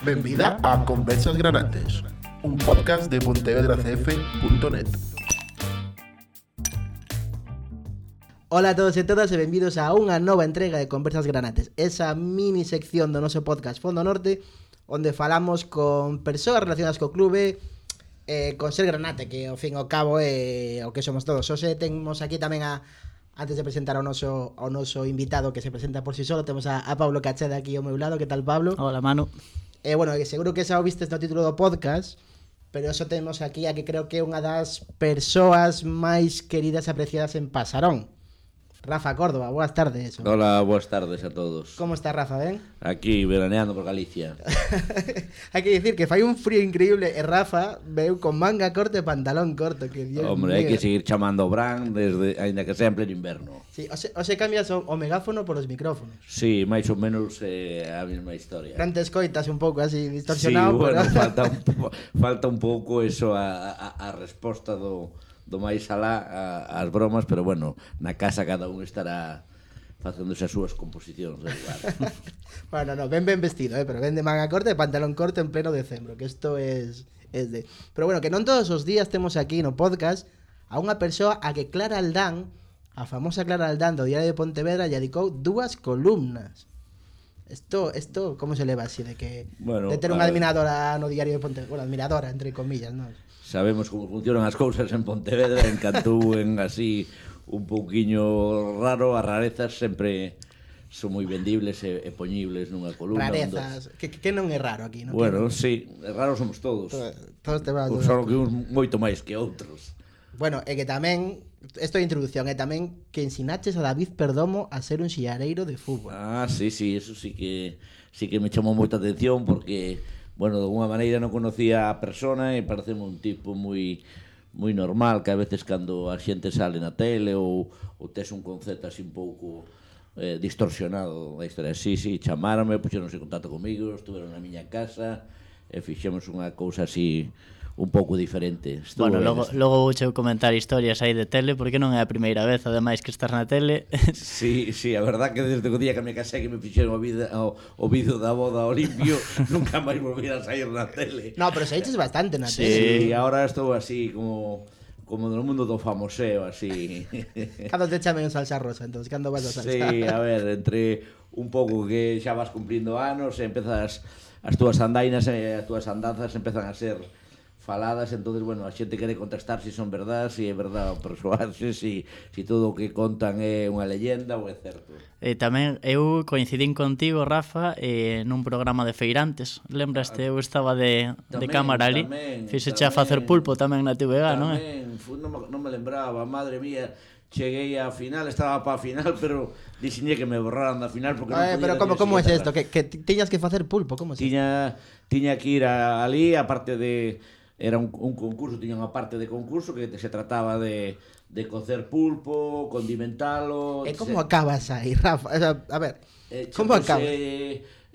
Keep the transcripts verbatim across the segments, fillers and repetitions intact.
Benvida a Conversas Granates, un podcast de pontevedra c f punto net. Ola a todos e todas e benvidos a unha nova entrega de Conversas Granates, esa mini sección do noso podcast Fondo Norte, onde falamos con persoas relacionadas co clube, eh, con ser granate, que ao fin e ao cabo é o que somos todos. Hoxe temos aquí tamén a, antes de presentar ao noso, ao noso invitado que se presenta por si solo, temos a, a Pablo Cacheda aquí ao meu lado. Que tal, Pablo? Hola, Manu. Eh, bueno, seguro que xa o vistes no título do podcast, pero eso temos aquí a que creo que é unha das persoas máis queridas e apreciadas en Pasarón. Rafa Córdoba, boas tardes. Hola, boas tardes a todos. Como está, Rafa, ben? Aquí, veraneando por Galicia. Hai que dicir que fai un frío increíble e Rafa veu con manga corta e pantalón corto, que Dios Hombre, mío. hai que seguir chamando ao Bran desde, ainda que sea en pleno inverno. Sí, o se, o se cambias o, o megáfono por os micrófonos. Sí, máis ou menos eh, a mesma historia. Durante escoitas un pouco así distorsionado. Sí, bueno, pero... falta, un, falta un pouco eso a, a, a resposta do... do máis alá a, as bromas, pero bueno, na casa cada un estará facéndose as súas composicións de lugar. Bueno, no, ben ben vestido, eh, pero ben de manga corta e pantalón corto en pleno decembro, que isto es, es de... Pero bueno, que non todos os días temos aquí no podcast a unha persoa a que Clara Aldán, a famosa Clara Aldán do Diario de Pontevedra, lle dedicou dúas columnas. Esto, esto, como se leva así de que Bueno, de ter unha admiradora no Diario de Pontevedra, bueno, admiradora entre comillas, non? Sabemos como funcionan as cousas en Pontevedra, en Cantú, en así un pouquiño raro, as rarezas sempre son moi vendibles e, e poñibles nunha columna. Rarezas, que, que non é raro aquí, non? Bueno, que... sí, raros somos todos. Todos, todos te van a... Só que uns moito máis que outros. Bueno, é que tamén, isto é introducción, é tamén que ensinaches a David Perdomo a ser un xillareiro de fútbol. Ah, sí, sí, eso sí que sí que me chamou moita atención porque, bueno, de alguna maneira non conocía a persona e pareceme un tipo moi moi normal, que a veces cando a xente sale na tele ou, ou tes un concepto así un pouco eh, distorsionado da historia. Sí, sí, chamaronme, puxeronse en contacto comigo, estuveron na miña casa e fixemos unha cousa así un pouco diferente. Estuvo Bueno, logo, ben. logo vouche comentar historias aí de tele, porque non é a primeira vez, ademais, que estás na tele. Sí, sí, a verdad que desde o día que me casé que me fixeron o, vida, o, o vídeo da boda ao limpio, nunca máis volví a sair na tele. No, pero se eches bastante na Sí. tele. Sí, ahora estou así como como no mundo do famoseo, así. Cando te chamen en salsa rosa, entonces, cando vas a salsa? Sí, a ver, entre un pouco que xa vas cumplindo anos, e empezas as túas andainas e as túas andanzas empezan a ser faladas, entonces, bueno, a xente quere contestar se si son verdad, se si é verdad o persoarse, se si, si todo o que contan é unha leyenda ou é certo. E tamén eu coincidín contigo, Rafa, eh, nun programa de feirantes. Lembraste, eu estaba de, de Tamén, cámara ali. tamén, Fixeche a tamén. facer pulpo tamén na T V G, non é? Tamén, fu- non, me- non me lembraba, madre mía, cheguei á final, estaba pa final, pero dixiñe que me borraran da final porque non Eh, podía pero dar como, ni como é siquiera isto? Que, que ti- tiñas que facer pulpo, como é? tiña tiña que ir a, ali, aparte de era un, un concurso, tiña unha parte de concurso que se trataba de de cocer pulpo, condimentalo. E como se- acabas aí, Rafa? O sea, a ver, eh, como chamase, acabas?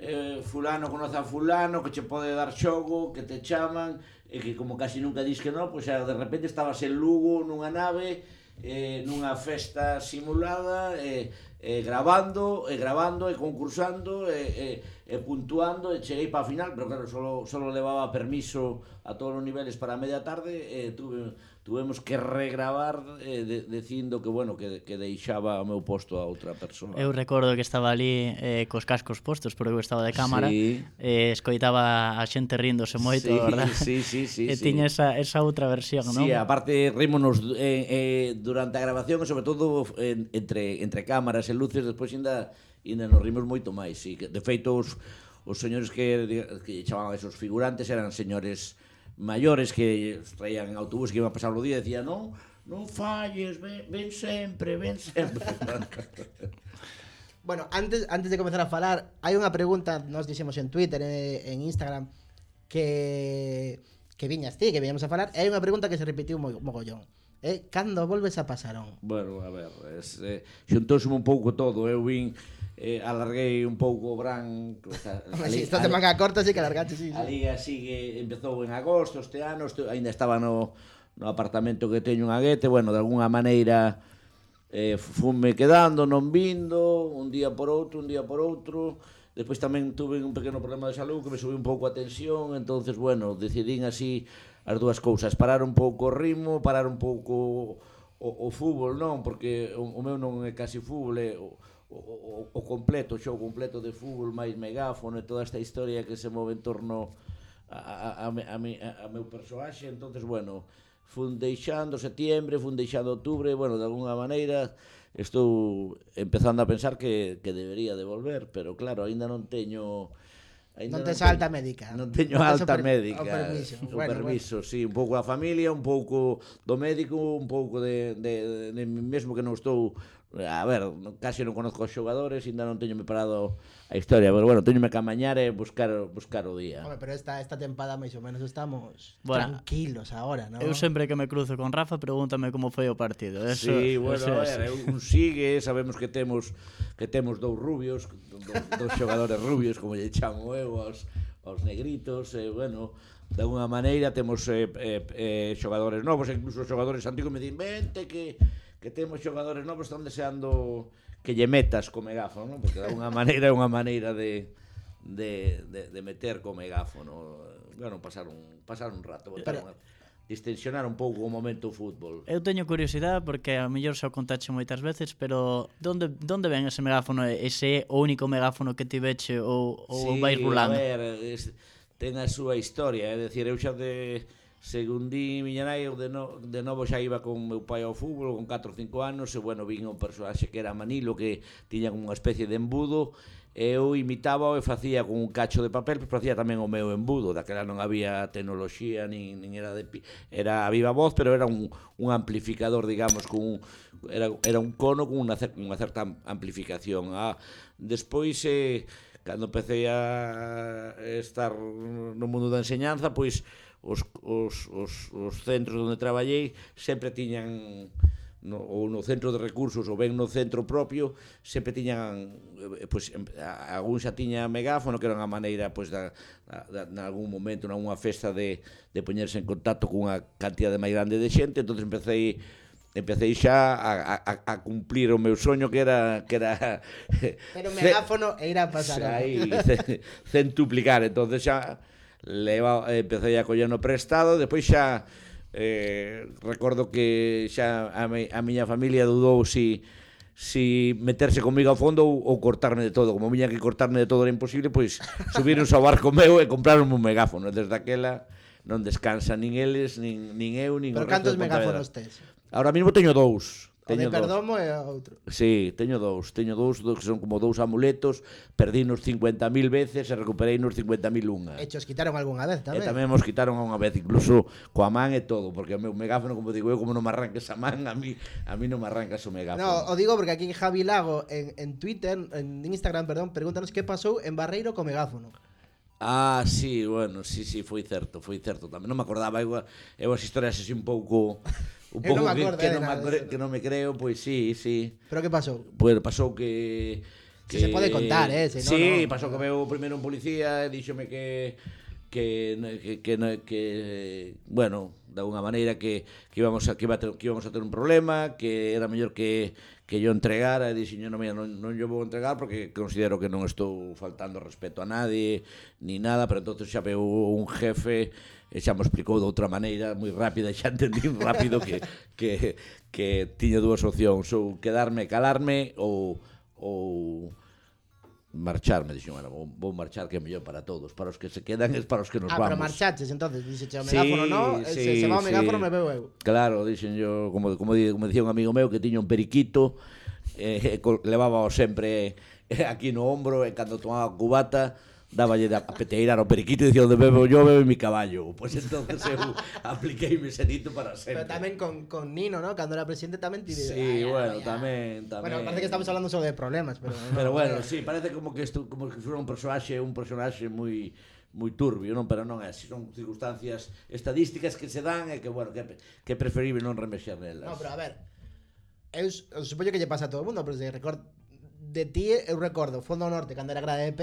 eh, fulano conoce a fulano que che pode dar xogo, que te chaman e que como casi nunca dis que non, pois xa de repente estabas en Lugo nunha nave, eh, nunha festa simulada, e eh, eh, grabando, e grabando, e concursando, e, e, e puntuando, e cheguei para a final, pero claro, solo, solo levaba permiso a todos os niveles para a media tarde, e tuve, tuvemos que regravar eh, de, dicindo que, bueno, que, que deixaba o meu posto a outra persoa. Eu recordo que estaba ali eh, cos cascos postos, porque eu estaba de cámara, Sí. e eh, escoitaba a xente ríndose moito, Sí, verdad? sí, sí, sí, E sí. tiña esa, esa outra versión, non? Sí, aparte rímonos eh, eh, durante a grabación e sobre todo en, entre, entre cámaras e luces, despois ainda, ainda nos rimos moito máis, sí. De feito, os, os señores que, que chamaban esos figurantes eran señores maiores que traían en autobús que iban a pasar o día e decían, non, non falles, ven, ven sempre, ven sempre. Bueno, antes, antes de comenzar a falar, hai unha pregunta, nos dixemos en Twitter, eh, en Instagram, que que viñas ti, que viñamos a falar, e hai unha pregunta que se repetiu mo, mogollón. Eh, cando volves a Pasarón? Bueno, a ver, es, eh, xuntouseme un pouco todo, eu vin, eh, alarguei un pouco o Bran, o sea, Hombre, si isto te manga corta, sí que largaste, sí, sí. A liga sigue, empezou en agosto este ano, estu, ainda estaba no, no apartamento que teño en Aguete, bueno, de alguna maneira eh, fume quedando, non vindo, un día por outro, un día por outro, Despois tamén tuve un pequeno problema de salud que me subiu un pouco a tensión, entonces, bueno, decidín así as dúas cousas, parar un pouco o ritmo, parar un pouco o, o fútbol, non, porque o, o meu non é casi fútbol, é o, o, o completo, o xogo completo de fútbol, máis megáfono e toda esta historia que se move en torno a, a, a, a, a, a meu persoaxe, entonces, bueno, fun deixando setiembre, fun deixando outubro, bueno, de alguna maneira estou empezando a pensar que, que debería de volver, pero claro, aínda non teño... Ainda non tes non alta médica. Non teño non alta per, médica. O permiso. O bueno, permiso, bueno. sí, un pouco a familia, un pouco do médico, un pouco de, de, de, de mesmo que non estou... A ver, casi non conozco os xogadores, ainda non teño me parado a historia, pero bueno, teño me que amañar e buscar, buscar o día. Hombre, pero esta, esta tempada máis ou menos estamos bueno, tranquilos agora, ¿no? Eu sempre que me cruzo con Rafa pregúntame como foi o partido. Eso, sí, bueno, eso, a ver, un sigue, sabemos que temos que temos dous rubios, dos, dos xogadores rubios, como lle chamo eu, aos, aos negritos, e, bueno, de alguna maneira temos eh, eh, eh, xogadores novos, incluso xogadores antigos me din, vente que... que temos xogadores novos están deseando que lle metas co megáfono, ¿no? Porque de alguna maneira é unha maneira de, de, de, de meter co megáfono, bueno, pasar un, pasar un rato, botar unha, distensionar un pouco o momento do fútbol. Eu teño curiosidade porque a mellor xa o contache moitas veces, pero donde, donde ven ese megáfono? Ese é o único megáfono que ti veche ou, ou sí, vais rulando? A ver, es, ten a súa historia, é dicir, eu xa de... Según di miña nai, eu de, no, de novo xa iba con meu pai ao fútbol con catro ou cinco anos e, bueno, vin un personaxe que era Manilo que tiña como unha especie de embudo e eu imitaba e facía con un cacho de papel, pero facía tamén o meu embudo. Daquela non había tecnoloxía, nin, nin era de era a viva voz, pero era un, un amplificador, digamos, con un, era, era un cono con unha, unha certa amplificación. Ah, despois, eh, cando empecé a estar no mundo da enseñanza, pois Os, os, os, os centros onde traballei sempre tiñan no, ou no centro de recursos ou ben no centro propio sempre tiñan pois, algún xa tiña megáfono que era unha maneira pois, da, da, en algún momento nunha festa de, de poñerse en contacto cunha cantidade máis grande de xente, entón empecé empecé xa a, a, a cumplir o meu soño que era que era pero o megáfono e ir a pasar aí centuplicar, entonces xa leva, empecé a coller no prestado, despois xa eh, recordo que xa a, mi, a miña familia dudou si, si meterse comigo ao fondo ou, ou cortarme de todo, como viña que cortarme de todo era imposible, pois subirnos ao barco meu e compraron un megáfono, desde aquela non descansa nin eles, nin, nin eu, nin pero o resto cantos de megáfonos tes? Ahora mesmo teño dous. O de Perdomo e outro. Sí, teño dous, teño dous, dous que son como dous amuletos, perdínos cincuenta mil veces e recuperei nos cincuenta mil unha. E os quitaron algunha vez tamén. E tamén nos quitaron unha vez, incluso coa man e todo, porque o meu megáfono, como digo eu, como non me arranques a man, a mí, a mí non me arrancas o megáfono. No, o digo porque aquí en Javi Lago, en, en Twitter, en Instagram, perdón, pregúntanos que pasou en Barreiro co megáfono. Ah, sí, bueno, sí, sí, foi certo, foi certo tamén. Non me acordaba, eu, eu as historias así un pouco... Un pouco no que, que, non nada, me, que non me creo, pois sí, sí. Pero que pasou? Pois pasou que... que si se pode contar, eh? Si no, sí, no, pasou que veu primeiro un policía e díxome que... Que, que, que, que bueno, de alguna maneira que, que, íbamos a, que, iba a ter, que íbamos a ter un problema, que era mellor que, que yo entregara, e dixen, non, non, non yo vou entregar porque considero que non estou faltando respeto a nadie, ni nada, pero entonces xa veu un jefe e xa me explicou de outra maneira moi rápida e xa entendí rápido que, que, que tiña dúas opcións, ou quedarme, calarme ou, ou marcharme, dixen, bueno, vou, vou marchar que é mellor para todos, para os que se quedan é para os que nos ah, vamos. Ah, pero marchaches, entonces, dixeche o megáfono, sí, no? Sí, se, se va o megáfono, sí. me veo eu. Claro, dixen yo, como, como, como dicía un amigo meu que tiña un periquito, eh, levaba sempre eh, aquí no ombro, e cando tomaba cubata, dáballe a peteirar ao periquito e dicía, onde bebo yo, bebe mi caballo. Pois pues entonces eu apliquei mi senito para sempre. Pero tamén con, con Nino, ¿no? Cando era presidente tamén tire... Sí, ay, bueno, ay, tamén, tamén. Bueno, parece que estamos hablando só de problemas, pero... Pero no, bueno, no. sí, parece como que isto, como que fora un personaxe, un personaxe moi moi turbio, non, pero non é así, son circunstancias estadísticas que se dan e que, bueno, que, que é preferible non remexer nelas. No, pero a ver, eu, eu supoño que lle pasa a todo o mundo, pero se record de ti, eu recordo Fondo Norte, cando era grada de P,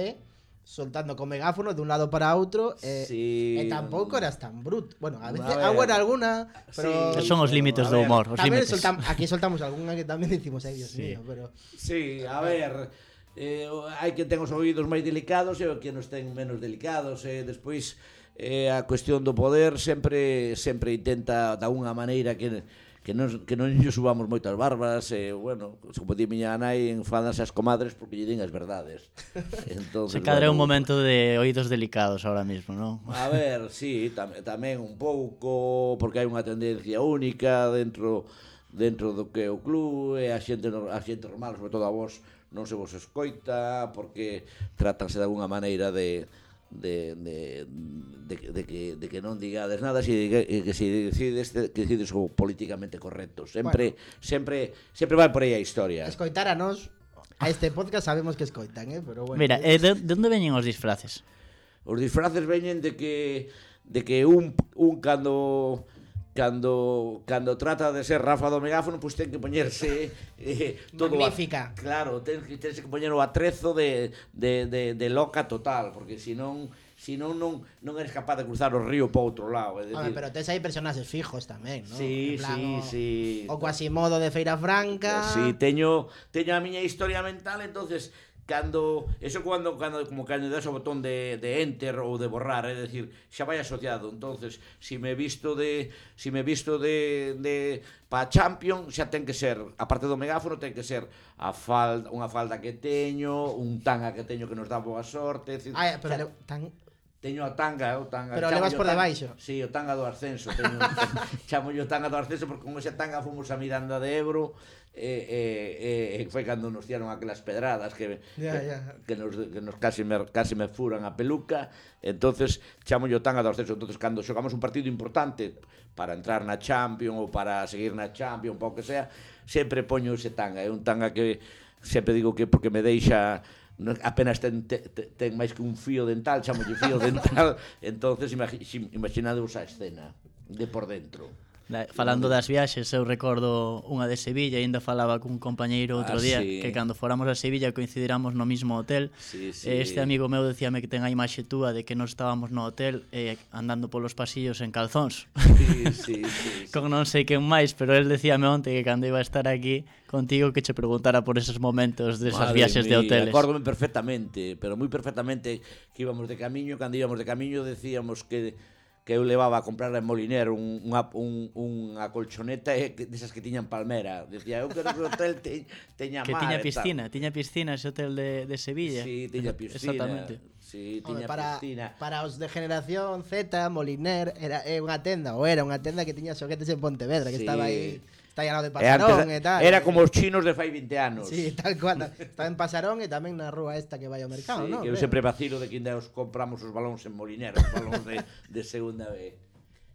soltando con megáfono de un lado para outro e, sí, e tampouco eras tan brut. Bueno, a veces a agora alguna, pero sí, son os límites do humor, os límites. límites. Soltam, aquí soltamos algunha que tamén dicimos, ai, Dios sí. mío, pero sí, a ver, eh, hai que ten os ouvidos máis delicados e o que nos ten menos delicados, e eh, despois eh, a cuestión do poder sempre sempre intenta de alguna maneira que que non, que non lle subamos moitas barbas e, bueno, como di miña nai, enfadanse as comadres porque lle din as verdades. Se Entonces, cadra bueno, un momento de oídos delicados ahora mismo, non? A ver, sí, tam, tamén un pouco, porque hai unha tendencia única dentro dentro do que é o club, e a xente, a xente normal, sobre todo a vos, non se vos escoita, porque tratanse de alguna maneira de de, de, de, de, que, de que non digades nada, si, que, que si decides que decides o políticamente correcto. Sempre, bueno, sempre, sempre vai por aí a historia. Escoitar a nós, a este podcast sabemos que escoitan, eh? Pero bueno. Mira, eh, de, de onde veñen os disfraces? Os disfraces veñen de que de que un, un cando cando cando trata de ser Rafa do megáfono, pois pues ten que poñerse eh, todo magnífica. A, claro, ten que tense que poñer o atrezo de, de, de, de loca total, porque senón senón non non eres capaz de cruzar o río para outro lado, é decir. Hombre, pero tes aí personaxes fijos tamén, ¿no? Sí, plan, sí, o, sí. O Quasimodo de Feira Franca. Sí, teño teño a miña historia mental, entonces cando eso cuando cando como cando das o botón de de enter ou de borrar, é decir, xa vai asociado. Entonces, si me visto de si me visto de de pa Champion, xa ten que ser, a parte do megáfono, ten que ser a falda, unha falda que teño, un tanga que teño que nos dá boa sorte, é decir, Ai, pero xa, le, tan teño a tanga, o tanga. Pero levas por debaixo. Si, sí, o tanga do ascenso, teño chamo yo tanga do ascenso porque con esa tanga fomos a Miranda de Ebro. E, e, e foi cando nos tiraron aquelas pedradas que, ya, ya. que, que nos, que nos casi, me, casi me furan a peluca. Entonces chamo yo tanga do ascenso. Entonces cando xogamos un partido importante para entrar na Champions ou para seguir na Champions, ou que sea, sempre poño ese tanga. É un tanga que sempre digo que porque me deixa apenas ten, ten, ten máis que un fío dental, chamo yo fío dental. Entonces imaginadevos a escena de por dentro. Falando das viaxes, eu recordo unha de Sevilla, e ainda falaba cun compañeiro outro ah, día, sí. que cando fóramos a Sevilla coincidiramos no mismo hotel. Sí, sí. Este amigo meu decíame que ten a imaxe túa de que nos estábamos no hotel eh, andando polos pasillos en calzóns. Sí, sí, sí, sí. Con non sei quen máis, pero el decíame onte que cando iba a estar aquí contigo que che preguntara por esos momentos desas Madre viaxes de mía, hoteles. Acórdome perfectamente, pero moi perfectamente que íbamos de camiño, cando íbamos de camiño decíamos que que eu levaba a comprar en Moliner un, unha, un, unha colchoneta e desas que tiñan palmera. Decía, eu quero que o hotel te, teña que mar. tiña piscina, tiña piscina ese hotel de, de Sevilla. Sí, tiña piscina. Exactamente. Sí, tiña Hombre, para, piscina. para os de generación Z, Moliner era é unha tenda, ou era unha tenda que tiña xoguetes en Pontevedra, que Sí. estaba aí, está aí ao lado de E antes, Pasarón e tal. era como os chinos de fai vinte anos. Sí, tal cual. Estaba en Pasarón e tamén na rúa esta que vai ao mercado, Sí, ¿no? que eu sempre vacilo de que ainda os compramos os balóns en Moliner, os balóns de, de segunda vez.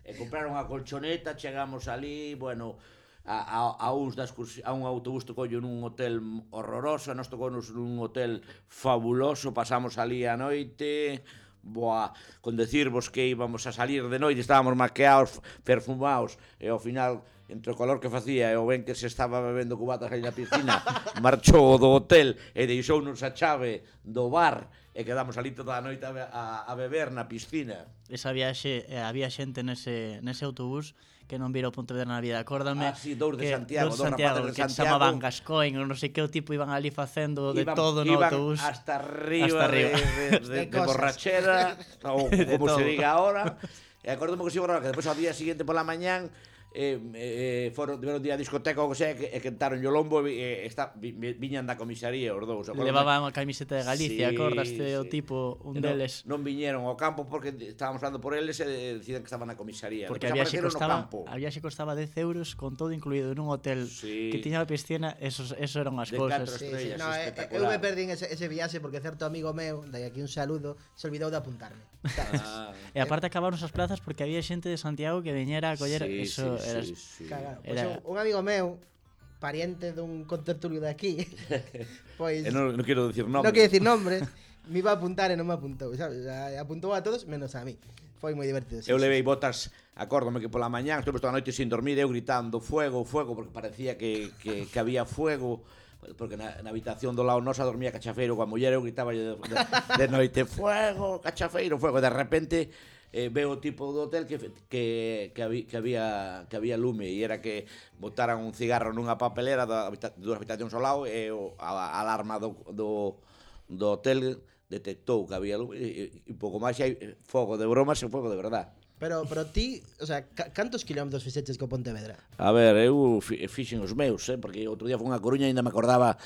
E compraron a colchoneta, chegamos ali, bueno, a, a, a, uns das, a un autobús tocollo nun hotel horroroso, nos tocounos nun hotel fabuloso, pasamos ali a noite, boa, con decirvos que íbamos a salir de noite, estábamos maqueados, perfumados, e ao final, entre o calor que facía e o ben que se estaba bebendo cubatas aí na piscina, marchou do hotel e deixounos a chave do bar, e quedamos ali toda a noite a, a, a beber na piscina. Esa viaxe, eh, había xente nese, nese autobús que non vira o Pontevedra na vida. Acórdame Ah, sí, dous de que, Santiago, dous dous Santiago, rapaces de que Santiago. chamaban Gascoigne, non sei que o tipo iban ali facendo de Iban, todo no iban autobús. hasta arriba, Hasta arriba. de, de, de, De de cosas. borrachera, ou De como se todo. diga ahora. E acordome que sigo que despois ao día seguinte pola mañán eh, eh, foron tiveron día a discoteca ou que sea, e quentaron o lombo e eh, está, vi, viñan da comisaría os dous. Acórdome. Levaban a camiseta de Galicia, Sí, acordaste sí. o tipo, un non, deles. Non viñeron ao campo porque estábamos falando por eles e decían que estaban na comisaría. Porque Despois había xe apareceron no costaba, campo. había xe costaba dez euros con todo incluído en un hotel Sí. que tiña a piscina, esos, eso eran as De cousas. catro Sí, sí. estrellas, No, eh, espectacular. eu me perdín ese, ese viaxe porque certo amigo meu, de aquí un saludo, se olvidou de apuntarme. Ah, E aparte acabaron as plazas porque había xente de Santiago que veñera a coller sí, eso, sí, era, sí, sí. Cagado. Pois Era- un, un amigo meu, pariente dun contertulio de aquí, pois E non, non quero decir non nombre. quero decir nombres, me iba a apuntar e non me apuntou, sabes? O sea, apuntou a todos menos a mí. Foi moi divertido. Sí, Eu sí. levei botas, acórdome que pola mañán estuve toda a noite sin dormir, eu gritando fuego, fuego, porque parecía que, que, que había fuego, porque na, na habitación do lado nosa dormía Cachafeiro coa muller, eu gritaba de, de, de noite fuego, Cachafeiro, fuego, de repente eh, veo o tipo do hotel que que que había que había que había lume e era que botaran un cigarro nunha papelera da habita, dúas habitacións ao lado e o, a, a alarma do, do do hotel detectou que había lume e, e pouco máis hai fogo de bromas e fogo de verdad. Pero, pero ti, o sea, cantos kilómetros fixeches co Pontevedra? A ver, eu fixen os meus, eh, porque outro día fui a Coruña e ainda me acordaba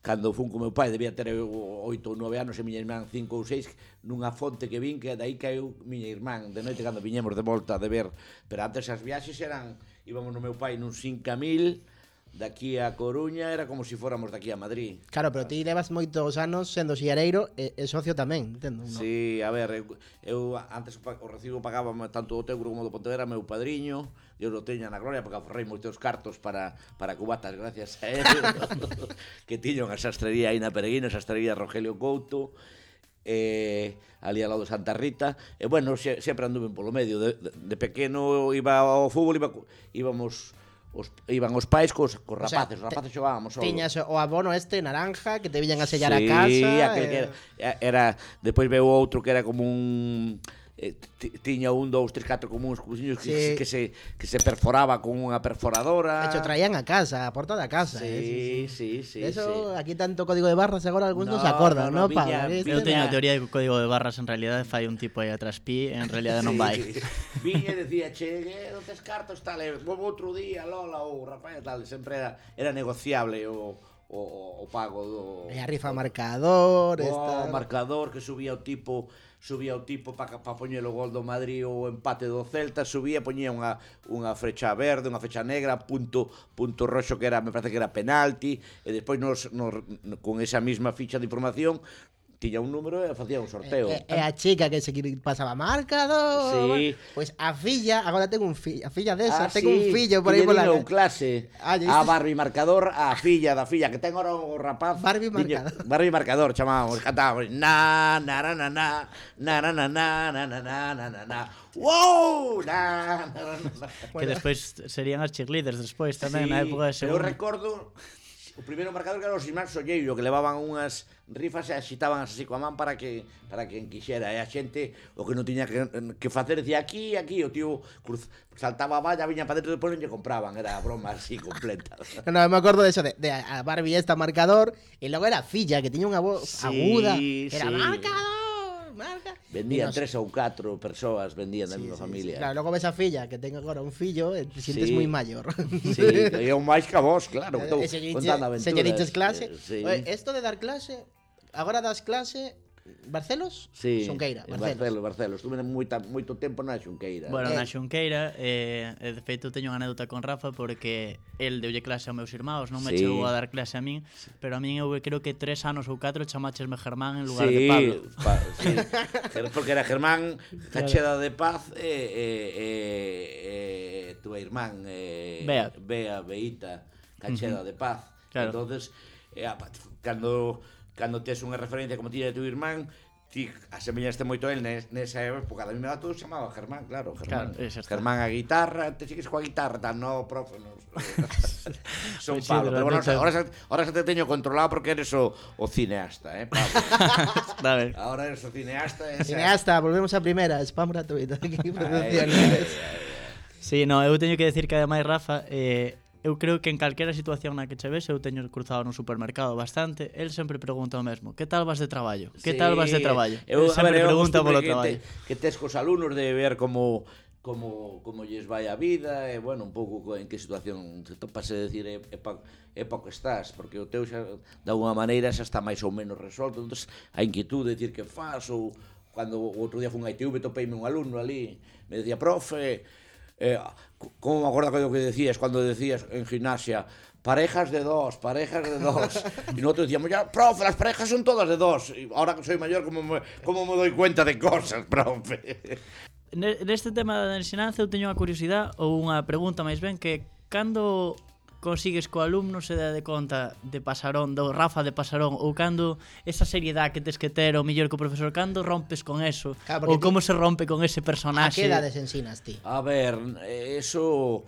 cando fun con meu pai, debía ter oito ou nove anos e miña irmán cinco ou seis, nunha fonte que vin que dai caeu miña irmán de noite cando viñemos de volta de ver, pero antes as viaxes eran, íbamos no meu pai nun cinco mil, daqui a Coruña era como se si fóramos daqui a Madrid. Claro, pero ti levas moitos anos sendo sillareiro e, e socio tamén, entendo, non? Sí, a ver, eu, eu antes o recibo pagaba tanto o Teuro como do Pontevedra meu padriño, Dios lo teña na gloria, porque aforrei moitos cartos para, para cubatas gracias a él, que tiño unha sastrería aí na Peregrina, sastrería Rogelio Couto, eh, ali ao lado de Santa Rita, e bueno, xe, sempre anduve polo medio, de, de, de pequeno iba ao fútbol, iba, íbamos... Os, iban os pais cos, cos rapaces, o sea, os rapaces xogábamos solo. Tiñas o abono este naranja que te viñan a sellar sí, a casa. Sí, aquel eh... que era, era depois veo outro que era como un eh, tiña un, dous, tres, catro como uns cruciños que, sí. que se que se perforaba con unha perforadora. De hecho, traían a casa, a porta da casa. Sí, eh, sí, sí, sí. Eso, sí. Aquí tanto código de barras agora algúns non no, se acordan, no, non, no, Pablo? Eu teño a teoría de que o código de barras en realidade fai un tipo aí atrás pi, en realidade non vai. Sí. Viña e decía, che, non tes cartos, tal, volvo outro día, Lola, ou Rafael, tal, sempre era, era negociable o, o, o pago do... E a rifa marcador, o esta... marcador que subía o tipo subía o tipo para pa poñer o gol do Madrid ou o empate do Celta, subía, poñía unha, unha frecha verde, unha frecha negra, punto punto roxo que era, me parece que era penalti, e despois nos, nos, con esa mesma ficha de información tiña un número e facía un sorteo. E, e a chica que se pasaba marcador. Sí. Pois a filla, agora tengo un fillo, a filla desa, Ah, tengo sí, un fillo por aí pola calle. clase. Ah, a Barbie marcador, a filla da filla que ten ahora o rapaz. Barbie Diño, marcador. Barbie marcador, chamábamos, cantábamos na na na na na na na na na na na na na na na. Wow! Na, na, na, na. Que despois serían as cheerleaders despois tamén Sí, na época de pero eu segundo. recordo o primeiro marcador que era os irmáns Solleiro, que levaban unhas rifas e axitaban así coa man para que para que enquixera, e a xente o que non tiña que, que facer decía aquí, aquí, o tío cruz, saltaba a valla, viña para dentro, depois non lle compraban, era a broma así completa. No, no, me acordo de eso, de, de a Barbie esta marcador, e logo era a filla que tiña unha voz Sí, aguda, era sí. marcador, marca. Vendían E nos- tres ou catro persoas, vendían da Sí, mesma sí, familia. sí. Claro, logo ves a filla que ten agora un fillo e te sientes Sí. moi maior. Sí, e un máis que a vos, claro, que estou E se contando aventuras. señoritas clase. Eh, sí. Oye, esto de dar clase, agora das clase Barcelos? Sí, Xunqueira, en Barcelos. Barcelos, Barcelos. Estuve moita, moito tempo na Xunqueira. Bueno, Eh. na Xunqueira, eh, e de feito teño unha anécdota con Rafa porque el deulle clase aos meus irmãos, non me Sí. chegou a dar clase a min, pero a min eu creo que tres anos ou catro chamáchesme Germán en lugar sí, de Pablo. Pa, sí. Ger- porque era Germán Cacheda de Paz e, e, e, e túa irmán eh, Bea. Bea, Beita Cacheda uh -huh. de Paz. Claro. Entonces, eh, cando cando tes unha referencia como tiña tu irmán, ti asemellaste moito a él nes, nesa época, da mesma todo se chamaba Germán, claro, Germán. Claro, esa está. Germán a guitarra, te sigues coa guitarra, tan no, profe, no. Son Pues sí, Pablo, pero pero bueno, neta- ahora, xa- ahora xa te teño controlado porque eres o, o cineasta, eh, Pablo. A ver. Ahora eres o cineasta. Esa... Cineasta, volvemos a primeira, spam gratuito aquí, Ay, producciones. ay, ay, Sí, no, eu teño que decir que ademais Rafa, eh, eu creo que en calquera situación na que che ves, eu teño cruzado no supermercado bastante, el sempre pregunta o mesmo, que tal vas de traballo? Que Sí, tal vas de traballo? Eu, El a sempre ver, eu pregunta acostumo polo que traballo. Te, que tes cos alumnos de ver como como como lles vai a vida e bueno, un pouco co- en que situación te topas e decir é, é, pa, é pa que estás, porque o teu xa de alguma maneira xa está máis ou menos resolto, entonces a inquietude de decir que faz ou cando o outro día fun a I T V topeime un alumno ali, me decía, profe, eh, como me acordo que decías cuando decías en gimnasia, parejas de dos, parejas de dos. Y nosotros decíamos, ya, profe, las parejas son todas de dos. Y ahora que soy mayor, ¿cómo me, cómo me doy cuenta de cosas, profe? Ne- Neste tema da ensinanza eu teño unha curiosidade ou unha pregunta máis ben que cando consigues co alumno se dá de conta de Pasarón, do Rafa de Pasarón, ou cando esa seriedade que tes que ter o mellor que o profesor, cando rompes con eso, Claro, porque ou como ti- se rompe con ese A personaxe. que edades ensinas ti? A ver, eso...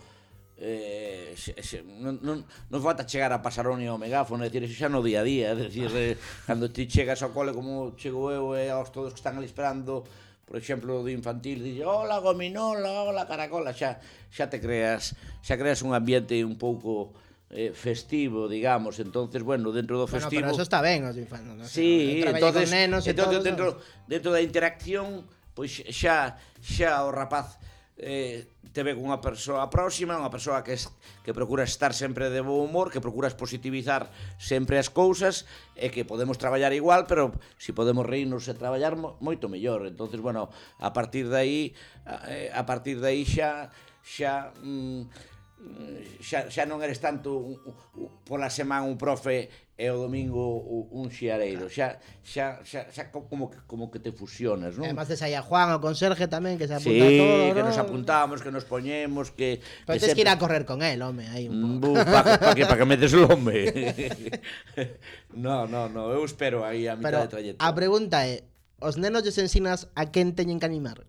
Eh, se, se, non, non, non falta chegar a Pasarón e ao megáfono, é dicir, eso xa no día a día, é dicir, eh, cando ti chegas ao cole como chego eu e aos todos que están ali esperando por exemplo, do infantil, dixe, hola gominola, hola caracola, xa, xa te creas, xa creas un ambiente un pouco eh, festivo, digamos, entonces, bueno, dentro do festivo... Bueno, pero eso está ben, os infantes, ¿no? Sí, entonces, con nenos e entonces todo, dentro, dentro da interacción, pois xa, xa o rapaz eh, te ve cunha persoa próxima, unha persoa que, es, que procura estar sempre de bo humor, que procuras positivizar sempre as cousas e que podemos traballar igual, pero si podemos reírnos e traballar moito mellor. Entonces, bueno, a partir de aí a partir de aí xa xa mm, xa, xa non eres tanto un, un, pola semana un profe e o domingo un xiareiro, xa xa xa, xa como que como que te fusionas, non? Además tes aí a Juan, o conserje tamén, que se apunta sí, todo, que ¿no? nos apuntamos, que nos poñemos, que pero que tens sempre... que ir a correr con él, home, aí un pouco. Para pa que, pa que me des o home. No, no, no, eu espero aí a mitad Pero de trayecto. a pregunta é, os nenos lles ensinas a quen teñen que animar?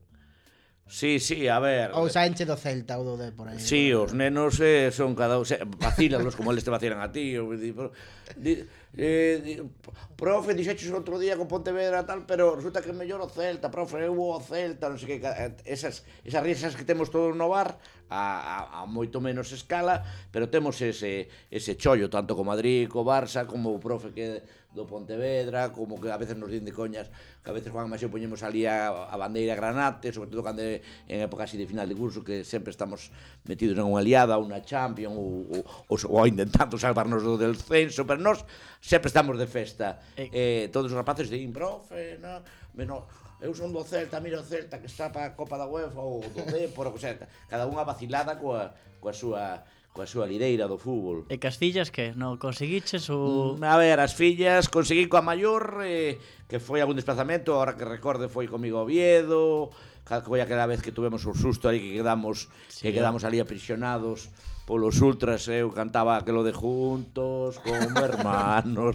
Sí, sí, a ver. Ou xa enche do Celta ou do de por aí. Sí, os nenos eh, son cada un, vacílalos como eles te vacilan a ti, ou di, di, eh, di, profe, dixeches outro día con Pontevedra tal, pero resulta que é mellor o Celta, profe, eu vou ao Celta, non sei que, esas esas risas que temos todos no bar a, a, a moito menos escala, pero temos ese ese chollo tanto co Madrid, co Barça, como o profe que do Pontevedra, como que a veces nos din de coñas, que a veces Juan Maseo poñemos ali a, a bandeira granate, sobre todo cando é en época así de final de curso, que sempre estamos metidos en unha liada, unha champion, ou, ou, ou intentando salvarnos do descenso, pero nós sempre estamos de festa. Eh, eh, todos os rapaces din, profe, no, no, eu son do Celta, mira o Celta que está para a Copa da UEFA ou do Depor, o que sea, cada unha vacilada coa, coa súa coa súa lideira do fútbol. E que as fillas que? Non conseguiches ou... A ver, as fillas conseguí coa maior eh, que foi algún desplazamento, ahora que recorde foi comigo a Oviedo, foi aquela vez que tuvemos un susto aí que quedamos sí, que quedamos ali aprisionados polos ultras, eu cantaba aquelo de juntos como hermanos.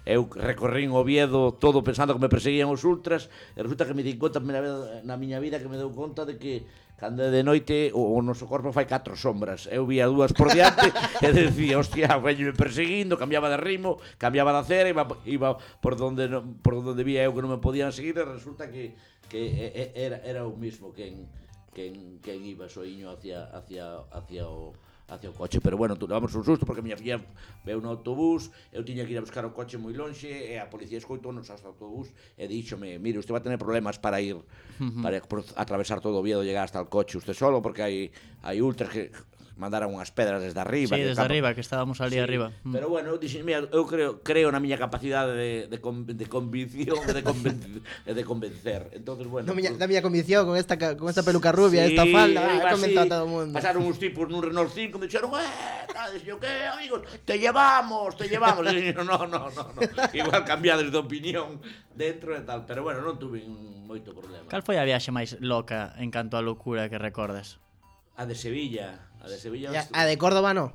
Eu recorrín Oviedo todo pensando que me perseguían os ultras e resulta que me di conta na miña vida que me deu conta de que cando de noite o, o noso corpo fai catro sombras. Eu vía dúas por diante e decía, hostia, veño perseguindo, cambiaba de ritmo, cambiaba de acera, iba, iba por donde no, por donde vía eu que non me podían seguir e resulta que, que era, era o mismo quen, quen, quen iba soiño hacia, hacia, hacia o hacia o coche, pero bueno, levamos un susto porque a miña filla veu no autobús, eu tiña que ir a buscar o coche moi lonxe e a policía escoitou-nos hasta o autobús e díxome, mire, usted va a tener problemas para ir uh-huh. para atravesar todo Oviedo, llegar hasta el coche usted solo, porque hai hai ultras que mandaron unhas pedras desde arriba. Sí, desde arriba, que estábamos ali sí, arriba. Pero bueno, eu dixen, mira, eu creo, creo na miña capacidade de, de, de convicción e de, conven, de convencer. Entonces, bueno, no, miña, pues, da miña convicción con esta, con esta peluca rubia, sí, esta falda, ah, comentou a todo o mundo. Pasaron uns tipos nun Renault cinco, me dixeron, eh, tal, dixen, que, amigos, te llevamos, te llevamos. E dixen, no, no, no, no, igual cambiades de opinión dentro e tal, pero bueno, non tuve moito problema. Cal foi a viaxe máis loca en canto a locura que recordas? A de Sevilla. A de Sevilla. Ya, a de Córdoba no.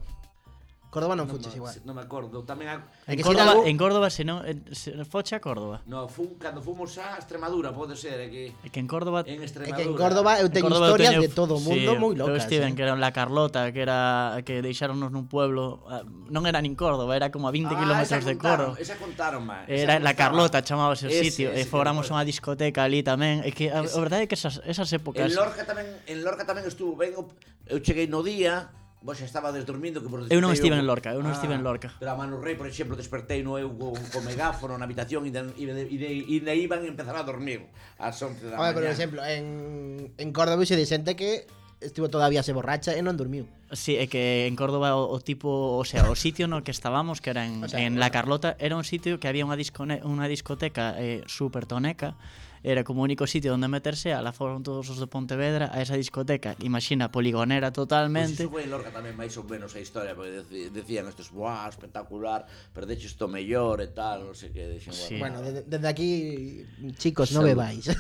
Córdoba non, non fuches igual. Non me acordo. Tamén a... En, en Córdoba, algo... en Córdoba se non se foche a Córdoba. No, fun cando fomos a Extremadura, pode ser, é que É que en Córdoba en Extremadura. É que en Córdoba eu teño Córdoba historias teño... de todo o mundo sí, moi locas. Eu estive eh. que era la Carlota, que era que deixáronos nun pueblo, non era nin Córdoba, era como a vinte ah, kilómetros de Córdoba. Esa contaron máis. Era la Carlota, chamábase o sitio, e fóramos que unha discoteca ali tamén, e que a, a verdade é que esas esas épocas. En Lorca tamén, en Lorca tamén estuvo ben, eu cheguei no día. Vos xa estaba desdormindo que por Eu non estive en Lorca, eu non ah, estive en Lorca. Pero a Manu Rei, por exemplo, despertei no eu con, con megáfono na habitación e e e iban a empezar a dormir ás once da mañá. Por exemplo, en en Córdoba xe xente que estivo todavía se borracha e non dormiu. Sí, é que en Córdoba o, o tipo, o sea, o sitio no que estábamos, que era en, o sea, en La Carlota, era un sitio que había unha discone, unha discoteca eh, super toneca. Era como o único sitio onde meterse, a la foron todos os de Pontevedra a esa discoteca, imagina, poligonera totalmente. Pois iso foi en Lorca tamén máis ou menos a historia, porque decían estes, buah, espectacular, perdeches isto mellor e tal, non sei que, dixen, sí. Bueno, desde de aquí, chicos, non bebáis.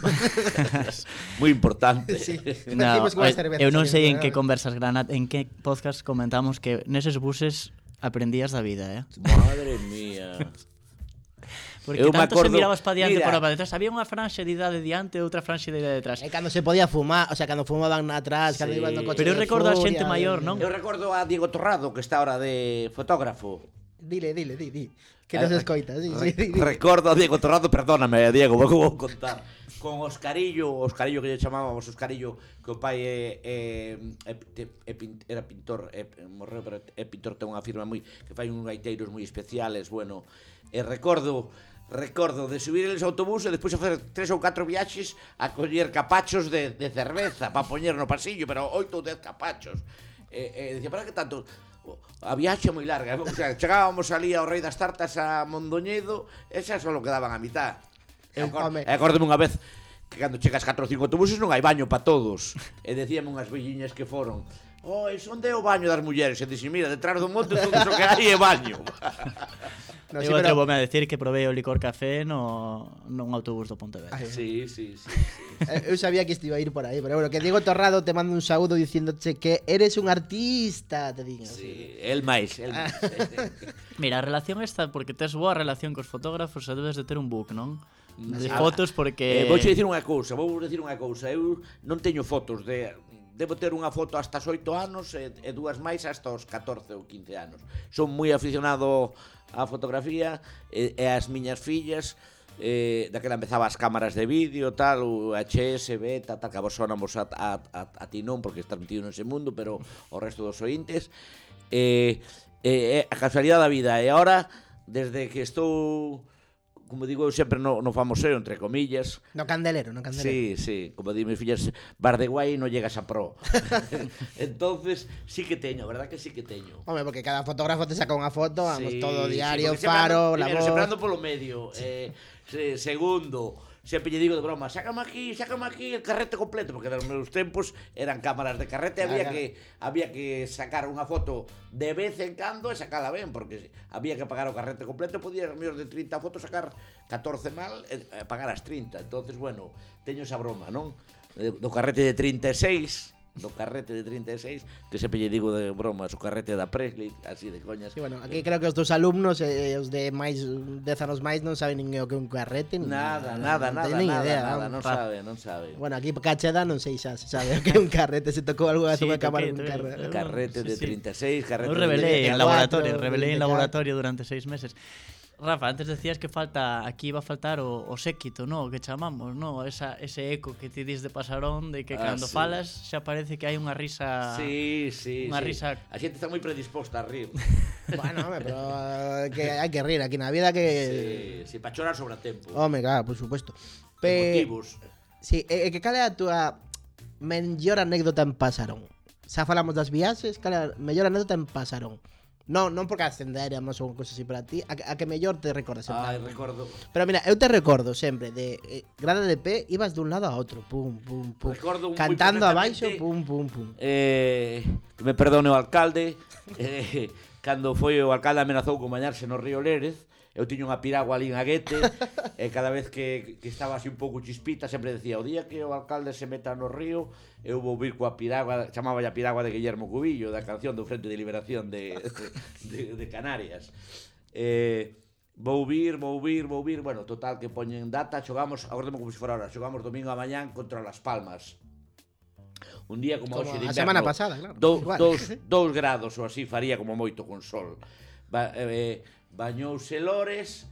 Moi importante. Sí. No, eu non sei en que conversas granat, en que podcast comentamos que neses buses aprendías da vida, eh? Madre mía. Porque eu tanto acordo, se mirabas para diante e para detrás. Había unha franxa de idade diante e outra franxa de idade detrás. E cando se podía fumar, o sea, cando fumaban atrás, sí. Cando iban no coche. Pero eu recordo a xente maior, non? Eu recordo a Diego Torrado, que está ahora de fotógrafo. Dile, dile, di, di. Que nos escoita, sí, Re, sí, di, di. Recordo a Diego Torrado, perdóname, Diego, vou vou contar. Con Oscarillo, Oscarillo que lle chamábamos Oscarillo, que o pai é, é, é, é, é era pintor, é, morreu, pero é pintor, ten unha firma moi que fai uns gaiteiros moi especiales, bueno, e recordo recordo de subir eles ao autobús e despois facer tres ou catro viaxes a coller capachos de, de cerveza para poñer no pasillo, pero oito ou dez capachos. E, e dicía, para que tanto? A viaxe moi larga, o sea, chegábamos ali ao Rei das Tartas a Mondoñedo, e xa só quedaban a mitad. E acórdome unha vez que cando chegas catro ou cinco autobuses non hai baño para todos. E decíame unhas velliñas que foron: "Oh, onde é o baño das mulleres?" E dixen, mira, detrás do monte todo o que hai é baño. No, eu sí, pero... atrevo-me a decir que probei o licor café no, nun autobús do Pontevedra. Ay, sí, sí, sí, sí. Eu sabía que isto iba a ir por aí, pero bueno, que Diego Torrado te manda un saúdo diciéndoche que eres un artista, te digo. Sí, el máis, el máis. Mira, a relación esta, porque tes boa relación cos fotógrafos, e debes de ter un book, non? De fotos, porque... Eh, vou dicir unha cousa, vou dicir unha cousa. Eu non teño fotos de... Debo ter unha foto hasta os oito anos e, e dúas máis hasta os catorce ou quince anos. Son moi aficionado á fotografía e, e as miñas fillas, eh, daquela empezaba as cámaras de vídeo, tal, o H S, beta, tal, que a vos sonamos a, a, a, a ti non, porque estás metido nese mundo, pero o resto dos ointes. E, e, e a casualidade da vida. E agora, desde que estou... como digo eu sempre no, no famoseo, entre comillas. No candelero, no candelero. Sí, sí, como di mis fillas, bar de guai non llegas a pro. Entonces, sí que teño, verdad que sí que teño. Hombre, porque cada fotógrafo te saca unha foto, vamos, sí, todo diario, sí, faro, ando, la primero, voz... sempre ando polo medio. Eh, se, segundo, sempre lle digo de broma, sácame aquí, sácame aquí el carrete completo, porque nos meus tempos eran cámaras de carrete, claro, había que había que sacar unha foto de vez en cando e sacala ben, porque había que pagar o carrete completo, podía mellor de trinta fotos sacar catorce mal e pagar as trinta. Entonces, bueno, teño esa broma, non? Do carrete de trinta e seis, do carrete de trinta e seis, que sempre lle digo de broma, o carrete da Presley, así de coñas. Sí, bueno, aquí creo que os dos alumnos e eh, os de máis dez anos máis non saben nin o que un carrete, nin nada, nada, nada, nada, nada, idea, nada, non sabe, non sabe. Bueno, aquí Cacheda non sei xa se sabe o que é un carrete, se tocou algo a sí, súa cámara un carrete. Carrete de trinta e seis, carrete eu revelei de en laboratorio, revelei en laboratorio durante seis meses. Rafa, antes decías que falta aquí iba a faltar o, o séquito, no, que chamamos, no, esa ese eco que ti dis de Pasarón, de que ah, cando sí. falas xa parece que hai unha risa. Sí, sí, unha sí. risa. A xente está moi predisposta a rir. Bueno, hombre, pero uh, que hai que rir aquí na vida que Sí, sí, para chorar sobre a tempo. Home, claro, por supuesto. Pe... Motivos. Sí, e que cal é a túa mellor anécdota en Pasarón? Xa falamos das viaxes, cal é a mellor anécdota en Pasarón? Non, non porque ascenderamos ou cousas así para ti, a que, a que mellor te recordas sempre. Ai, recordo. Pero mira, eu te recordo sempre de eh, grada de pé, ibas dun lado a outro, pum, pum, pum. Recordo cantando abaixo, pum, pum, pum. Eh, que me perdone o alcalde, eh, cando foi o alcalde amenazou con bañarse no río Lérez, eu tiño unha piragua ali en Aguete, e cada vez que, que estaba así un pouco chispita, sempre decía, o día que o alcalde se meta no río, eu vou vir coa piragua, chamaba a piragua de Guillermo Cubillo, da canción do Frente de Liberación de, de, de Canarias. Eh, vou vir, vou vir, vou vir, bueno, total, que poñen data, xogamos, agora como se fora ahora, xogamos domingo a mañán contra Las Palmas. Un día como, como hoxe de inverno, a semana pasada, claro. Do, dous, dous grados ou así faría como moito con sol. Ba, eh, bañouse Lores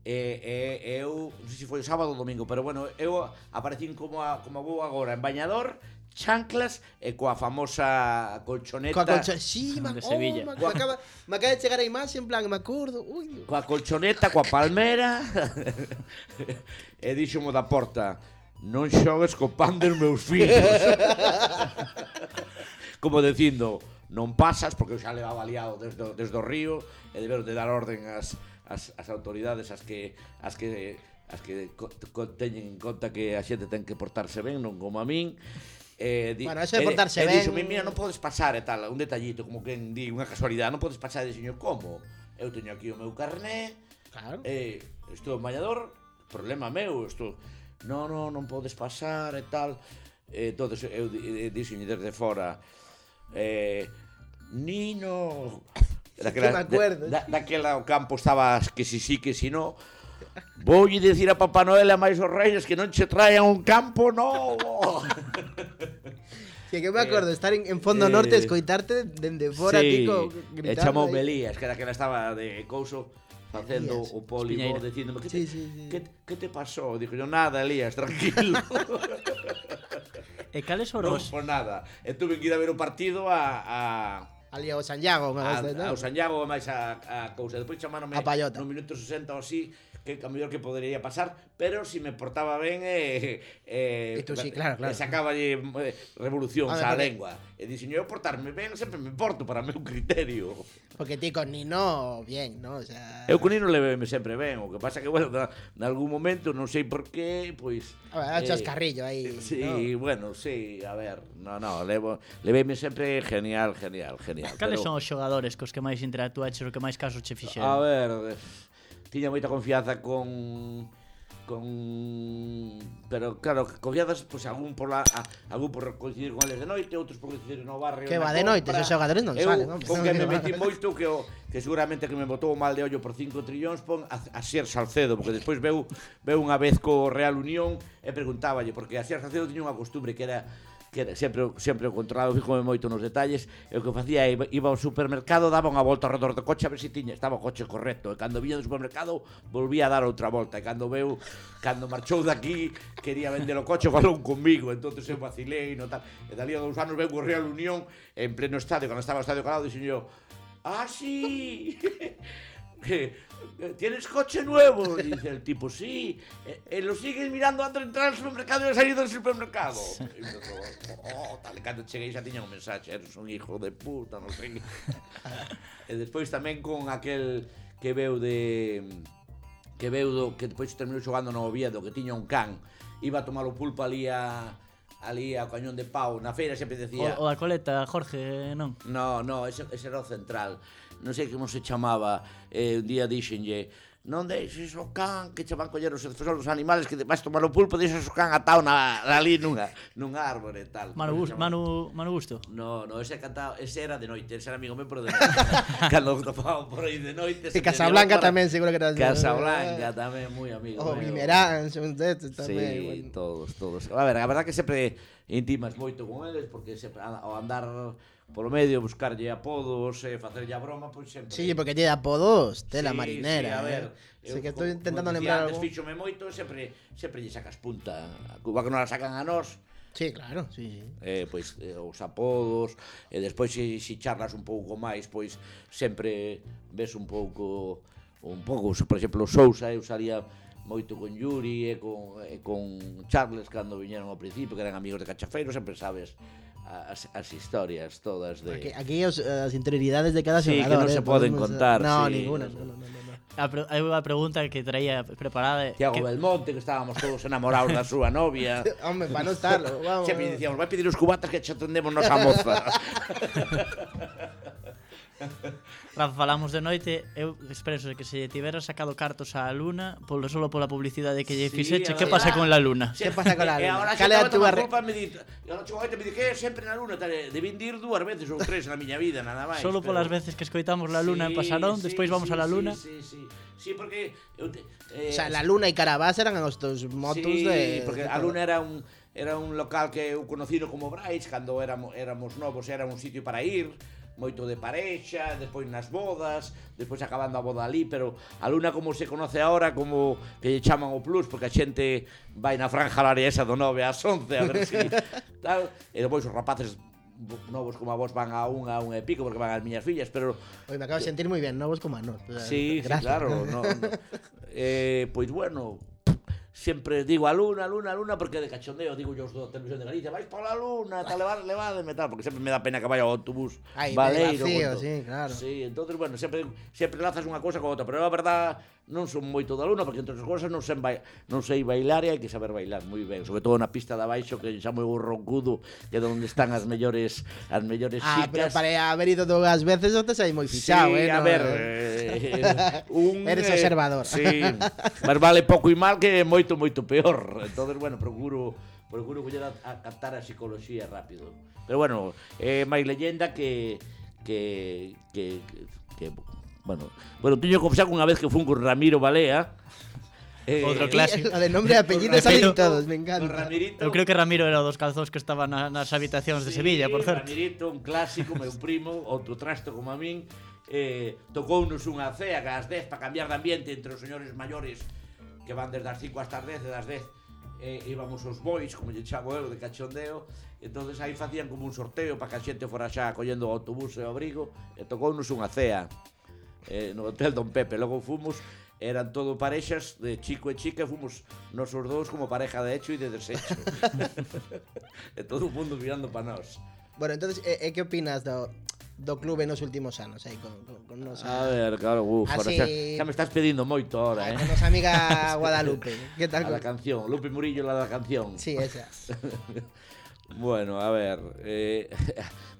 e, e, e eu non sei se foi o sábado ou domingo, pero bueno, eu aparecín como a, como vou agora en bañador, chanclas e coa famosa colchoneta. Coa colchoneta, sí, ma, de Sevilla. Oh, me, acaba, me acaba de chegar a imaxe en plan, me acordo. Ui. Coa colchoneta, coa palmera. E dixo-mo da porta, non xogues co pan dos meus fillos. Como dicindo, non pasas, porque eu xa levaba liado desde, desde o río e deberon de dar orden as, as, as autoridades as que as que as que co, co, teñen en conta que a xente ten que portarse ben, non como a min. Eh, di, bueno, eso de portarse e, ben... E dixo, mira, non podes pasar e tal, un detallito, como que di unha casualidade, non podes pasar, e dixo, como? Eu teño aquí o meu carné, claro. eh, estou en bañador, problema meu, estou... Non, non, non podes pasar e tal. Eh, entonces eu dixo desde fora, eh, Nino, daquela, que me acuerdo, da, daquela o campo estaba que si sí, que si no. Voulle dicir a Papá Noel e a máis os reis que non che traian un campo novo. Sí, Que que me acordo de estar en, en Fondo Norte, eh, escoitarte dende fora, sí, tico, e gritando. chamou aí. Melías, que era que ela estaba de couso facendo Elías, o pólipo, Espiñeira. dicíndome que, Sí, te, sí, sí. que, que te pasou? Digo yo, nada, Elías, tranquilo. E cales foron Non, os... por nada. E tuve que ir a ver o partido a... a Ali ao Santiago, a, a, ao Santiago máis a, a cousa. Depois chamaronme A Pallota. no minuto sesenta ou así que a mellor que podería pasar, pero si me portaba ben eh, eh, E tú sí, claro, claro. e sacaballe eh, revolucións A ver, á porque- lengua. E dixen, eu portarme ben sempre me porto para o meu criterio. Porque ti con Nino, bien, ¿no? O sea... Eu con Nino leveme sempre ben, o que pasa que, bueno, na, nalgún momento, non sei por qué, pois... A ver, chascarrillo aí, Sí, ¿no? bueno, sí, a ver, no, no, levo, leveme sempre genial, genial, genial. Cales pero- son os xogadores cos que máis interactuaches ou que máis casos che A fixeron? ver, tiña moita confianza con con pero claro, confianzas pois pues, algún por la a, algún por coincidir con eles de noite, outros por coincidir no barrio. Que na va de noite, compra. esos xogadores non Eu, salen, hombre. con que me metí moito que o, que seguramente que me botou o mal de ollo por cinco trillóns pon a, a Sier Salcedo, porque despois veu veu unha vez co Real Unión e preguntáballe, porque a Sier Salcedo tiña unha costumbre que era que era sempre, sempre o controlado, fíjome moito nos detalles, e o que facía iba, iba ao supermercado, daba unha volta ao redor do coche a ver se tiña, estaba o coche correcto, e cando viña do supermercado volvía a dar outra volta, e cando veu, cando marchou daqui, quería vender o coche, falou comigo, entonces eu vacilei, no tal, e dali a dous anos veu o Real Unión, en pleno estadio, cando estaba o estadio calado, dixen yo, ah, sí, ¿tienes coche nuevo? Y dice el tipo, sí. Eh, eh, ¿Lo sigues mirando antes de entrar al supermercado y de salir del supermercado? Y yo, oh, tal, cando cheguei xa tiña un mensaxe, eres un hijo de puta, non sei. E despois tamén con aquel que veu de... que veu do... que despois terminou xogando no Oviedo, que tiña un can, iba a tomar o pulpo ali a... ali a Cañón de Pau, na feira sempre decía... O, o da coleta, Jorge, non? No, no, ese, ese era o central. Non sei como se chamaba. Eh, un día dixenlle, non deixes o can que che van coller os defensores dos animales, que te vas tomar o pulpo, deixes o can atado na, na ali nunha, nunha árbore e tal. Manu, Gus- Manu, Manu Gusto. No, no, ese cantaba, ese era de noite, ese era amigo meu, pero de noite. Cando topaba por aí de noite... E Casablanca tamén, seguro que era... Casalanca tamén, moi amigo O meu. Vimerán, son destes tamén. Sí, bueno. todos, todos. A ver, a verdad que sempre intimas moito con eles, porque sempre ao andar polo medio, buscarlle apodos e facerlle a broma, pois sempre... Sí, porque tiene apodos, tela Sí, marinera. sí, a ver, eh. Sé eu, que estoy como- intentando como lembrar dicía antes, algo. fíxome moito, sempre sempre lle sacas punta. A Cuba que non la sacan a nós, Sí, claro, sí, sí. eh, pois eh, os apodos, e despois se si, si charlas un pouco máis, pois sempre ves un pouco un pouco, por exemplo, Sousa, eu salía moito con Yuri e con, e con Charles cando viñeron ao principio, que eran amigos de Cachafeiro, sempre sabes as, as historias todas de... Aquí, aquí os, as interioridades de cada Sí, que xogador. non eh, se poden podemos- contar, No, sí. ninguna. No, no, no, no. A, pre hai unha pregunta que traía preparada. Tiago que... Belmonte, que estábamos todos enamorados da súa novia. Hombre, para non estarlo, vamos. Sempre dicíamos, vai pedir os cubatas que che atendemos nosa moza. Rafa, falamos de noite. Eu expreso que se tivera sacado cartos á Luna, polo solo pola publicidade que lle Sí, fixeche, a que verdad. pasa con la Luna? Que pasa con la E Luna? agora Cal xa é a estaba túa tomando re- culpa, me di, e agora chegou me di que sempre na Luna, tal, debín dir dúas veces ou tres na miña vida, nada máis. Solo pero- polas veces que escoitamos la Luna en Sí, Pasarón, sí, despois vamos sí, a la Luna. Sí, sí, sí, sí, porque eu te, O eh, sea, la Luna e Carabás eran os dos motos sí, de... porque de a todo. Luna era un era un local que eu conocido como Brais cando éramos éramos novos, era un sitio para ir, moito de parexa, despois nas bodas, despois acabando a boda ali, pero a Luna como se conoce ahora, como que lle chaman o plus, porque a xente vai na franja horaria esa do nove ás once, a ver si tal, e despois os rapaces novos como a vos van a un, a un e pico, porque van as miñas fillas, pero Oye, me acabo de sentir moi ben, novos como a nós. O sea, sí, sí, gracias. claro, no, no. Eh, pois bueno, sempre digo a Luna, a Luna, a Luna, porque de cachondeo digo yo os do Televisión de Galicia, vais pola Luna, tal, levar, levademe, tal, porque sempre me dá pena que vaya ao autobús Ai, baleiro. vacío, con to- sí, claro. Sí, entonces, bueno, sempre, sempre lazas unha cousa con outra, pero a verdad non son moito da Luna, porque entre as cousas non sei, bai, non sei bailar e hai que saber bailar moi ben, sobre todo na pista de abaixo, que xa moi roncudo, que é onde están as mellores as mellores Ah, pero xicas. para haber ido dúas veces non te sai moi fichado, sí, eh? a no, ver, eh. eh, un, Eres eh, observador. Sí, mas vale pouco e mal que moito, moito peor. Entonces, bueno, procuro procuro coller a, a captar a psicología rápido. Pero bueno, é eh, máis leyenda que que que, que, que bueno, bueno, teño que confesar que unha vez que fun con Ramiro Balea, Eh, Outro Y clásico. lo de nombre e apellido salen todos, me encanta. Con Ramirito. Eu creo que Ramiro era o dos calzóns que estaban na, nas habitacións de Sevilla, por certo. Ramirito, un clásico, meu primo, outro trasto como a min, eh, tocounos unha cea ás dez para cambiar de ambiente entre os señores maiores que van desde as cinco hasta as dez e das dez eh, íbamos os boys, como lle chamo eu, de cachondeo. Entonces aí facían como un sorteo para que a xente fora xa collendo o autobús e o abrigo, e tocounos unha cea eh, no Hotel Don Pepe. Logo fomos, eran todo parexas de chico e chica, fomos nosos dous como pareja de hecho e de desecho. E todo o mundo mirando para nós. Bueno, entonces, e, e que opinas do, do clube nos últimos anos aí con, con, con nosa... A ver, claro, uf, ahora Así- xa, xa me estás pedindo moito ahora, eh. Con nosa amiga Guadalupe. Que tal? A la canción, Lupe Murillo, la da canción. Sí, esa. Bueno, a ver, eh,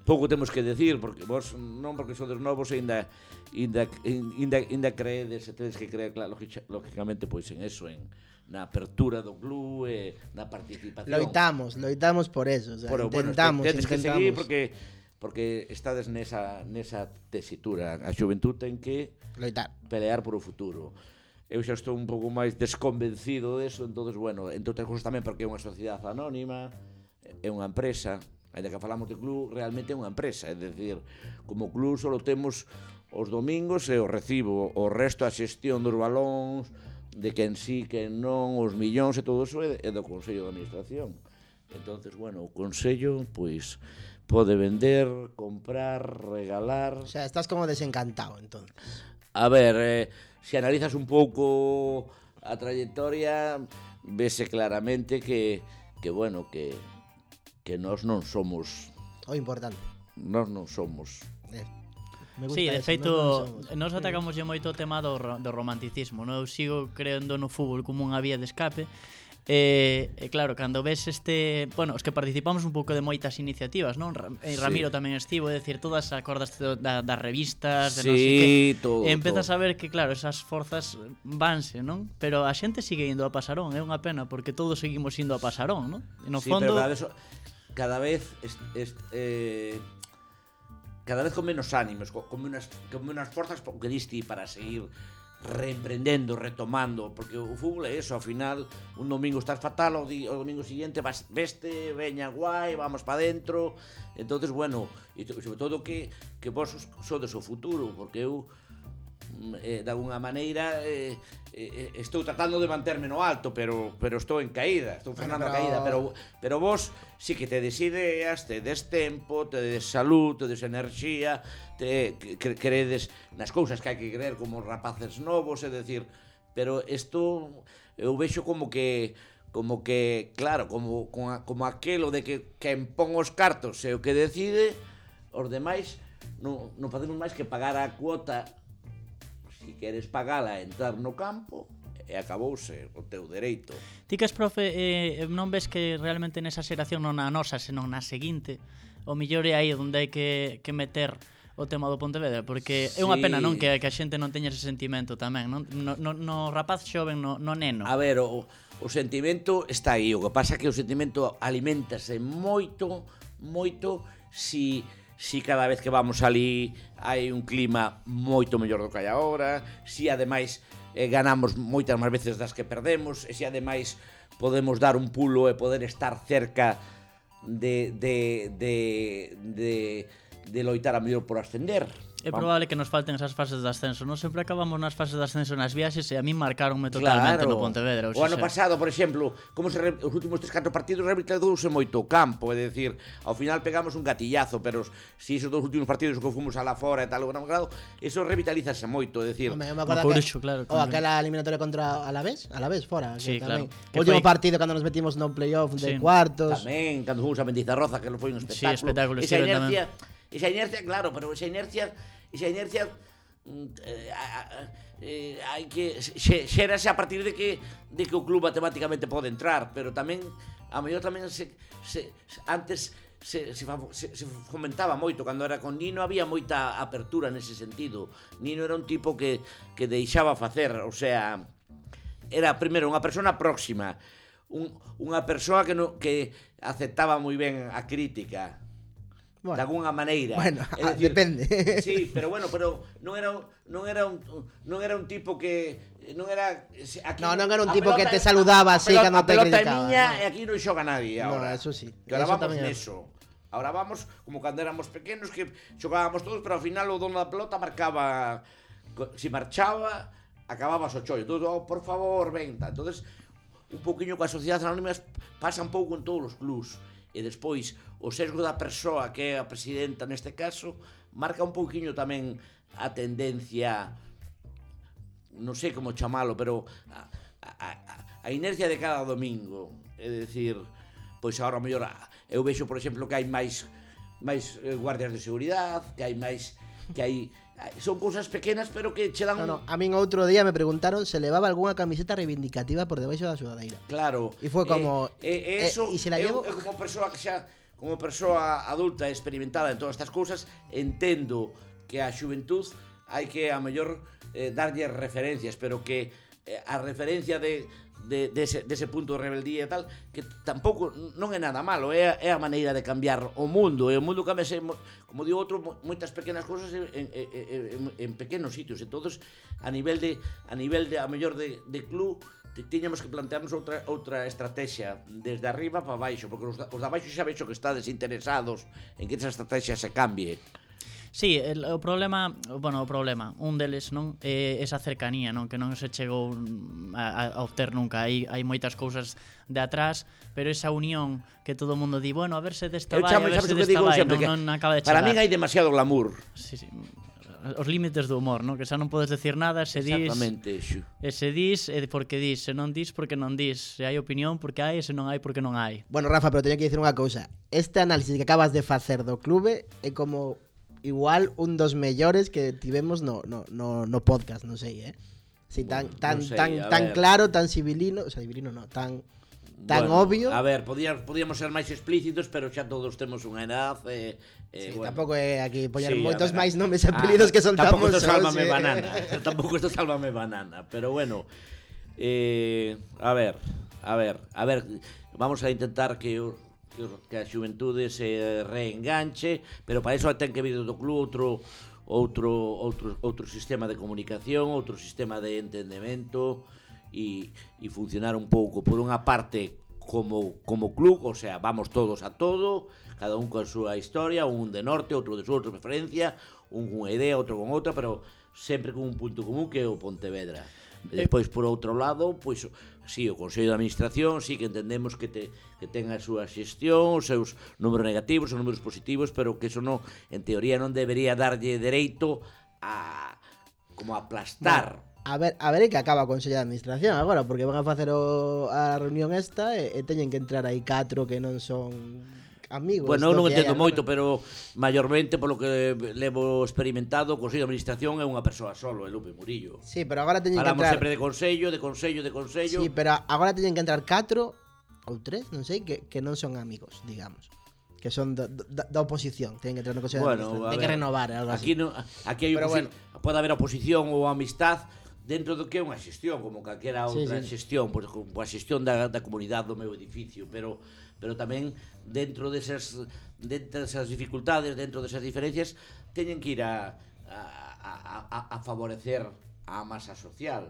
pouco temos que decir, porque vos non porque sodes novos e ainda ainda ainda ainda creedes, e tedes que creer, claro, lógicamente pois en eso, en na apertura do club e na participación. Loitamos, loitamos por eso, o sea, Pero, intentamos, bueno, tedes que intentamos. seguir porque porque estades nesa nesa tesitura. A xuventud ten que Loitar. pelear por o futuro. Eu xa estou un pouco máis desconvencido deso, entonces, bueno, entre outras cousas tamén porque é unha sociedade anónima, é unha empresa, ainda que falamos de club, realmente é unha empresa, é dicir, como club só temos os domingos e o recibo, o resto a xestión dos balóns, de quen sí, quen non, os millóns e todo eso é do Consello de Administración. Entonces, bueno, o Consello, pois, pode vender, comprar, regalar... O sea, estás como desencantado, entonces. A ver, eh, se analizas un pouco a trayectoria, vese claramente que, que bueno, que, que nós non somos... O importante. Nós non somos... Eh, me gusta Sí, de eso, feito, non somos. nos atacamos moito o tema do, ro- do romanticismo, non? Eu sigo creendo no fútbol como unha vía de escape. E, e claro, cando ves este, bueno, os que participamos un pouco de moitas iniciativas, non? Ra- e Sí. Ramiro tamén estivo, é dicir, todas acordas da, das revistas, de non Sí, sei que. todo, E empezas todo. a ver que claro, esas forzas vanse, non? Pero a xente sigue indo a Pasarón, é unha pena porque todos seguimos indo a Pasarón, non? E no sí, fondo pero cada vez, cada vez est, est, eh, cada vez con menos ánimos, con, con menos, con menos forzas, porque diste para seguir reemprendendo, retomando, porque o fútbol é eso, ao final un domingo estás fatal, o, di, o domingo siguiente vas, veste, veña guai, vamos pa dentro. Entonces, bueno, e sobre todo que, que vos sodes o futuro, porque eu eh, de alguna maneira eh, eh, estou tratando de manterme no alto, pero pero estou en caída, estou frenando Bueno, a pero- caída, pero pero vos si que tedes ideas, tedes tempo, tedes salud, tedes enerxía, te cre credes nas cousas que hai que creer como rapaces novos, é decir, pero isto eu vexo como que como que, claro, como como, a, como aquelo de que quen pon os cartos é o que decide, os demais non, non facemos máis que pagar a cuota. Si queres pagala e entrar no campo, e acabouse o teu dereito. Ti que és profe, eh, non ves que realmente nesa xeración non na nosa, senón na seguinte, o millor é aí onde hai que, que meter o tema do Pontevedra, porque é unha Sí. pena, non, que, que a xente non teña ese sentimento tamén, non? No, no, no rapaz xoven, no, no neno. A ver, o, o sentimento está aí, o que pasa é que o sentimento aliméntase moito, moito, si... si cada vez que vamos ali hai un clima moito mellor do que hai agora, si ademais eh, ganamos moitas máis veces das que perdemos, e si ademais podemos dar un pulo e poder estar cerca de de de de, de loitar a mellor por ascender. É probable que nos falten esas fases de ascenso. Non sempre acabamos nas fases de ascenso nas viaxes e a min marcaronme totalmente Claro. no Pontevedra. O ano pasado, por exemplo, como se re... os últimos tres catro partidos revitalizouse moito o campo, é dicir, ao final pegamos un gatillazo, pero si esos dos últimos partidos que fomos a la fora e tal, o gran grado, eso revitalízase moito, é dicir, Home, eu me No acordo Coruxo, que, claro, o tamén. aquela eliminatoria contra Alavés, Alavés fora, Sí, que claro. tamén. Que O último foi- partido cando nos metimos no playoff de Sí. cuartos. tamén cando fomos a Mendizarroza, que foi un Sí, espectáculo. espectáculo, esa sí, inercia, esa inercia, claro, pero esa inercia, esa inercia mm, eh, a- a- eh, hai que xe- xérase a partir de que de que o club matemáticamente pode entrar, pero tamén a mellor tamén se, se antes se, se, fa- se, se fomentaba moito cando era con Nino, había moita apertura nese sentido. Nino era un tipo que que deixaba facer, o sea, era primeiro unha persona próxima, un, unha persoa que no, que aceptaba moi ben a crítica. Bueno. de alguna maneira. Bueno, É dicir, depende. Sí, pero bueno, pero non era un- non era un non era un tipo que non era aquí, No, non era un a tipo que pelota- te saludaba a así pelota- cando te a pelota é criticaba, miña no. e aquí non xoga nadie No, agora. eso sí, Que ahora eso vamos tamén é neso. Ahora vamos como cando éramos pequenos que xogábamos todos, pero ao final o dono da pelota marcaba, si marchaba, acababas o chollo. Todo, oh, por favor, venta. Entonces, un pouquiño coa sociedade anónima pasa un pouco en todos os clubs. E despois, o sesgo da persoa que é a presidenta neste caso, marca un pouquiño tamén a tendencia, non sei como chamalo, pero a, a, a, a inercia de cada domingo. É dicir, pois agora mellor eu vexo, por exemplo, que hai máis máis eh, guardias de seguridade, que hai máis que hai son cousas pequenas, pero que che dan No, no, a min outro día me preguntaron se levaba algunha camiseta reivindicativa por debaixo da sudadeira. Claro. E foi como, eh, eh, eh, eso, e se la eu, llevo? eu como persoa que xa como persoa adulta e experimentada en todas estas cousas, entendo que a xuventud hai que a mellor eh, darlle referencias, pero que eh, a referencia de de dese de ese punto de rebeldía e tal, que tampouco non é nada malo, é a, é a maneira de cambiar o mundo, e o mundo cámbiase, como digo outro, moitas pequenas cousas en, en, en, en pequenos sitios, e todos a nivel de a nivel de a mellor de de club tiñamos que plantearnos outra outra estrategia desde arriba para baixo, porque os da, os da baixo xa vexo que estades interesados en que esa estrategia se cambie. Sí, el, o problema, bueno, o problema, un deles, non, é esa cercanía, non, que non se chegou a, a obter nunca. Hai hai moitas cousas de atrás, pero esa unión que todo o mundo di, bueno, a ver se desta vai, a ver se desta vai, non, non acaba de chegar. Para min hai demasiado glamour. Sí, sí. Os límites do humor, non? Que xa non podes decir nada, se dis... Exactamente, xu. E se dis, é porque dis, se non dis, porque non dis. Se hai opinión, porque hai, e se non hai, porque non hai. Bueno, Rafa, pero teño que dicir unha cousa. Este análisis que acabas de facer do clube é como igual un dos mellores que tivemos no, no, no, no podcast, non sei, eh? Si, tan, tan, non sei, tan, a tan ver. claro, tan civilino, o sea, civilino no, tan, tan Bueno, obvio. A ver, podíamos, podíamos ser máis explícitos, pero xa todos temos unha edad e... Eh, Sí, bueno. tampouco é aquí poñer Sí, moitos a ver, máis nomes e apelidos ah, que soltamos. Tampouco isto sálvame eh. banana. Tampouco isto sálvame banana. Pero bueno, eh, a ver, a ver, a ver, vamos a intentar que o, que, o, que a xuventude se reenganche, pero para iso ten que vir do club outro outro outro outro sistema de comunicación, outro sistema de entendemento e e funcionar un pouco por unha parte como como club, o sea, vamos todos a todo, cada un con súa historia, un de norte, outro de sur, outra preferencia, un con unha idea, outro con outra, pero sempre con un punto común que é o Pontevedra. E despois, por outro lado, pois, si, o Consello de Administración, si que entendemos que te que ten a súa xestión, os seus números negativos, os números positivos, pero que eso non, en teoría, non debería darlle dereito a como a aplastar. Bueno, a ver, a ver que acaba o Consello de Administración agora, porque van a facer o, a reunión esta e, e teñen que entrar aí catro que non son amigos. Bueno, eu non do que hai entendo agora. moito, pero maiormente polo que levo experimentado, o Consello de Administración é unha persoa solo, é Lupe Murillo. Sí, pero agora teñen que Falamos entrar. sempre de consello, de consello, de consello. Sí, pero agora teñen que entrar catro ou tres, non sei, que, que non son amigos, digamos. Que son da, da, da oposición, teñen que entrar no Consello Bueno, de Administración. a Ten que ver, renovar, algo aquí así. no, aquí hai Pero oposi- bueno. pode haber oposición ou amistad dentro do que é unha xestión, como calquera Sí, outra sí. xestión, pois como a xestión da, da comunidade do meu edificio, pero pero tamén dentro desas dentro desas dificultades, dentro desas diferencias, teñen que ir a a, a, a, a favorecer a masa social.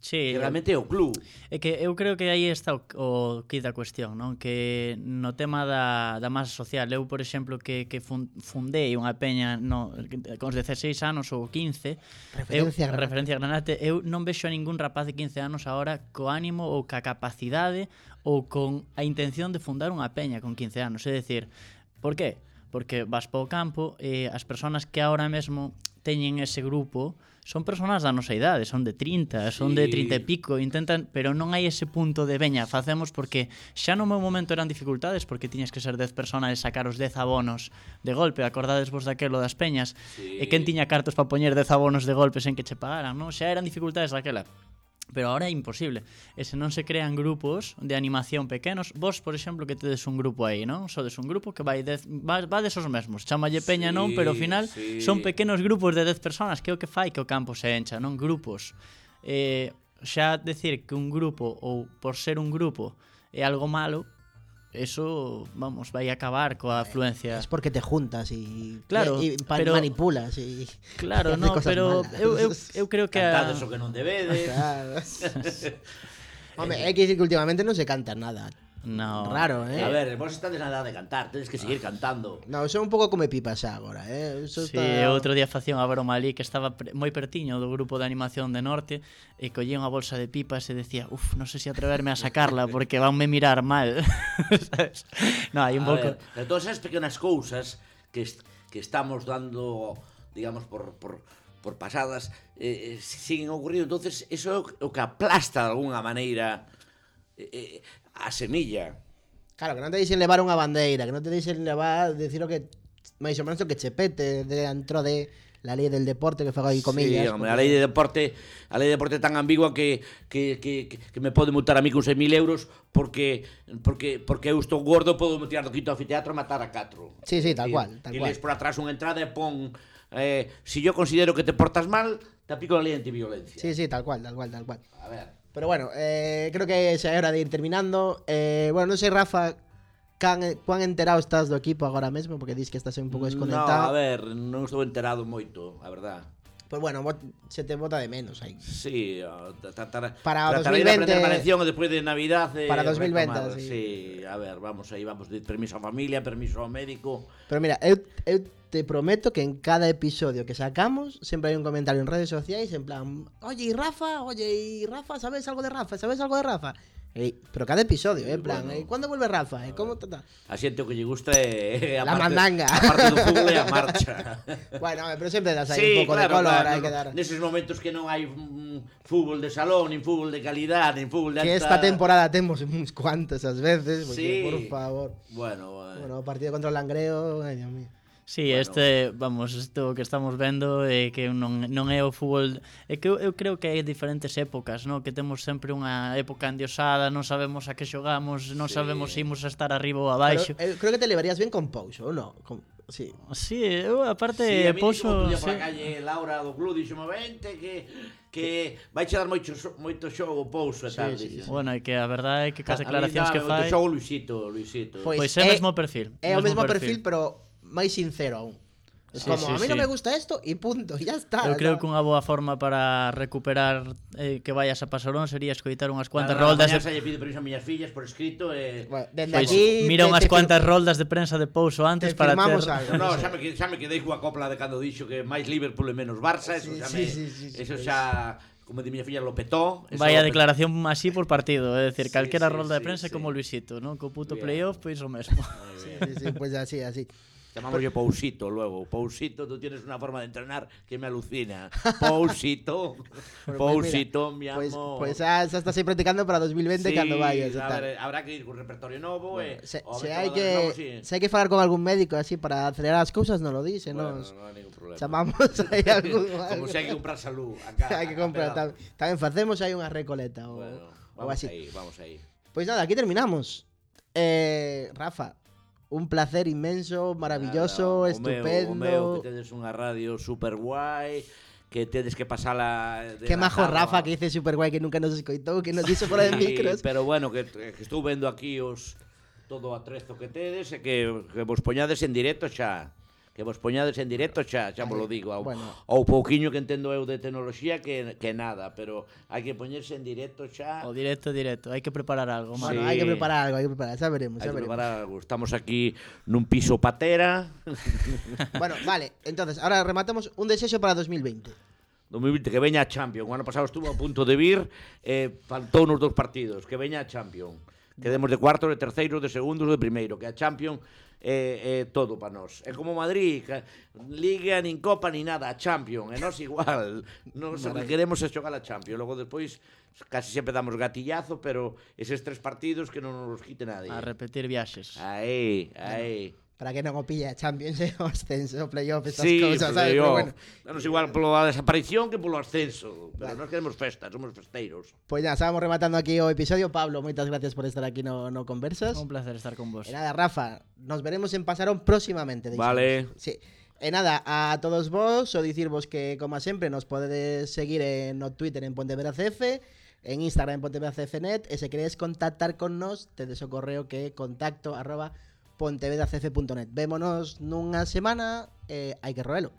Sí, Que realmente é o club. É que eu creo que aí está o, o quid da cuestión, non? Que no tema da, da masa social, eu, por exemplo, que, que fun, fundei unha peña no, con os dezaseis anos ou quince, Referencia eu, Granate. referencia a Granate, eu non vexo a ningún rapaz de quince anos agora co ánimo ou ca capacidade ou con a intención de fundar unha peña con quince anos. É dicir, por qué? Porque vas para o campo e as persoas que agora mesmo teñen ese grupo son persoas da nosa idade, son de trinta, son de Sí. trinta e pico, intentan, pero non hai ese punto de veña, facemos porque xa no meu momento eran dificultades porque tiñas que ser dez persoas e sacar os dez abonos de golpe, acordades vos daquelo das peñas, Sí. e quen tiña cartos para poñer dez abonos de golpe sen que che pagaran, non? Xa eran dificultades daquela. Pero ahora é imposible. E se non se crean grupos de animación pequenos, vos, por exemplo, que tedes un grupo aí, non? Sodes un grupo que vai dez, va, va desos mesmos. Chámalle peña, Sí, non? Pero ao final sí. son pequenos grupos de dez persoas, que é o que fai que o campo se encha, non? Grupos. Eh, xa decir que un grupo, ou por ser un grupo, é algo malo, eso, vamos, vai acabar coa afluencia. Es porque te juntas y, Claro, y, y pa- pero- manipulas y Claro, y haces no, cosas pero malas. eu, eu, eu creo que a... Cantades o que non debedes. Claro. Hombre, hay que decir que últimamente no se canta nada. No. Raro, eh. A ver, vos estades na edad de cantar, tedes que seguir cantando. No, son un pouco come pipas xa agora, eh. Eso Sí, está... outro día facía unha broma ali que estaba pre- moi pertiño do grupo de animación de Norte e collía unha bolsa de pipas e decía, uf, non sei se atreverme a sacarla porque vanme mirar mal. ¿Sabes? No, hai un A pouco... ver, de todas esas pequenas cousas que, est que estamos dando, digamos, por, por, por pasadas, eh, eh, siguen ocurrindo. Entonces, eso é o, o que aplasta de alguna maneira eh, eh, a semilla. Claro, que non te dixen levar unha bandeira, que non te dixen levar, decir o que máis ou menos o que che pete dentro de la lei del deporte que fago aí comillas. Sí, hombre, a lei de deporte, a lei de deporte é tan ambigua que que, que, que me pode multar a mí con seis mil euros porque porque porque eu estou gordo, podo me tirar do quinto anfiteatro e matar a catro. Sí, sí, tal E- cual, tal e cual. les por atrás unha entrada e pon eh, si yo considero que te portas mal, te aplico la lei antiviolencia. Sí, sí, tal cual, tal cual, tal cual. A ver. Pero bueno, eh, creo que xa é hora de ir terminando. Eh, bueno, non sei, Rafa, can, cuán enterado estás do equipo agora mesmo, porque dis que estás un pouco No, desconectado. a ver, non estou enterado moito, a verdad. Pues bueno, bot- se te bota de menos aí. Sí, o tra- tratar, Para tratar dos mil de veinte, aprender valenciano despois de Navidad e para dos mil veinte, retomar. sí. Sí, a ver, vamos aí, vamos de permiso a familia, permiso ao médico. Pero mira, eu, eu te prometo que en cada episodio que sacamos sempre hai un comentario en redes sociais en plan, oye, y Rafa, oye, y Rafa, ¿sabes algo de Rafa? ¿Sabes algo de Rafa? Eh, pero cada episodio, eh, en plan, bueno. eh, ¿cuándo vuelve Rafa? Eh, ¿Cómo ta, ta? A xente o que lle gusta é a La parte, mandanga. a parte do fútbol e a marcha. Bueno, pero sempre das aí Sí, un pouco claro, de color, claro, hai que dar. neses momentos que non hai mm, fútbol de salón, nin fútbol de calidad, nin fútbol de Que esta alta... temporada temos uns cuantas as veces, porque, Sí. por favor. Bueno, bueno. Bueno, o partido contra o Langreo, ay, Dios mío. Sí, Bueno. este, vamos, isto que estamos vendo é que non, non é o fútbol, é que eu, eu creo que hai diferentes épocas, no? Que temos sempre unha época endiosada, non sabemos a que xogamos, non Sí. sabemos se imos a estar arriba ou Pero, abaixo. eh, creo que te levarías bien con Pouso, ou non? Con... Sí. Sí, eu aparte Sí, a mí Pouso, Pouso, por sí. a calle Laura do club dixome vente que que vai che dar moito xo- moito xogo Pouso e tal, sí, dixo. Bueno, é que a verdade é que cas A mí declaracións que dame moito fai, xogo Luisito, Luisito. Pois pois é o é- mesmo perfil. É o mesmo perfil, pero máis sincero aún. Es Sí, como, sí, a mí sí. non me gusta esto y punto, y ya está. Eu creo ¿sabes? que unha boa forma para recuperar eh, que vayas a Pasarón sería escoitar unhas cuantas Nada, roldas mañá de... xa lle pido permiso a miñas fillas por escrito e... Bueno, dende Pois, aquí mira te- unhas te cuantas fir- roldas de prensa de Pouso antes te para firmamos ter... algo. No, xa me, que- xa me quedei coa copla de cando dixo que máis Liverpool e menos Barça, eso Sí, xa sí, me... sí, sí, sí, eso sí. xa, como di miña filla, lo petó. eso Vaya lo petó. declaración así por partido, é dicir, Sí, calquera sí, rolda de sí, prensa sí. como Luisito, non? Co puto Bien. playoff, pois o mesmo. Muy Sí, bien. sí, sí, pues así, así. Llamamos yo Pousito luego. Pousito, tú tienes una forma de entrenar que me alucina. Pousito, Bueno, pues Pousito, mi mira, Pues, amor. pues ya, ya estás ahí practicando para dos mil veinte Sí, cuando vayas. y a tal. ver, habrá que ir con repertorio nuevo. Bueno, eh, se, o a se ver hai xogadores novos, que, sí. se hai que falar con algún médico así para acelerar as cousas, non lo dice, Bueno, nos no hay ningún problema. chamamos aí algún... Como se hai que comprar salud. Acá, hai que acá comprar, pegado. tam, tamén facemos aí unha recoleta ou, Bueno, ou vamos así. ahí, vamos ahí. Pois nada, aquí terminamos. Eh, Rafa, un placer inmenso, maravilloso, Nada, o estupendo. Meu, o meu, que tedes unha radio super guai, que tedes que pasala de Qué majo la Rafa cama. que dice super guay que nunca nos escoitou, que nos dixo fora de Sí, micros. pero bueno, que, que estou vendo aquí os todo o atrezo que tedes e que, que vos poñades en directo xa. Que vos poñades en directo xa, xa vos lo digo. Ao, Bueno. ao pouquiño que entendo eu de tecnoloxía que, que nada, pero hai que poñerse en directo xa. O directo, directo, hai que preparar algo, Bueno, mano. hai que Sí. preparar algo, hai que preparar, xa veremos, Hai xa que veremos. preparar algo. Estamos aquí nun piso patera. Bueno, vale, entonces, ahora rematamos un desexo para dos mil veinte. dos mil veinte, que veña a Champions. O ano pasado estuvo a punto de vir, eh, faltou nos dos partidos. Que veña a Champions. Quedemos de cuartos, de terceiros, de segundos, de primeiro. Que a Champions é, é todo para nós. É como Madrid, que Liga, nin Copa, nin nada. A Champions, e nós igual. Nós o que queremos é xogar a Champions. Logo despois, casi sempre damos gatillazo, pero eses tres partidos que non nos quite nadie. A repetir viaxes. Aí, aí. Para que non o pille a Champions, eh, o ascenso, o playoff, estas Sí, cousas, ¿sabes? Pero playoff. bueno, Danos igual pola desaparición que polo ascenso. Pero Vale. nós queremos festa, somos festeiros. pues ya, estábamos rematando aquí o episodio. Pablo, moitas gracias por estar aquí no, no Conversas. Un placer estar con vos. E nada, Rafa, nos veremos en Pasarón próximamente. deixamos. Vale. Sí. E nada, a todos vos, o dicirvos que, como sempre, nos podedes seguir en no Twitter en Pontevedra C F, en Instagram en pontevedacf punto net, e se queredes contactar con nos, tedes o correo que é contacto arroba pontevedacf punto net. Vémonos nunha semana, e hai que roelo.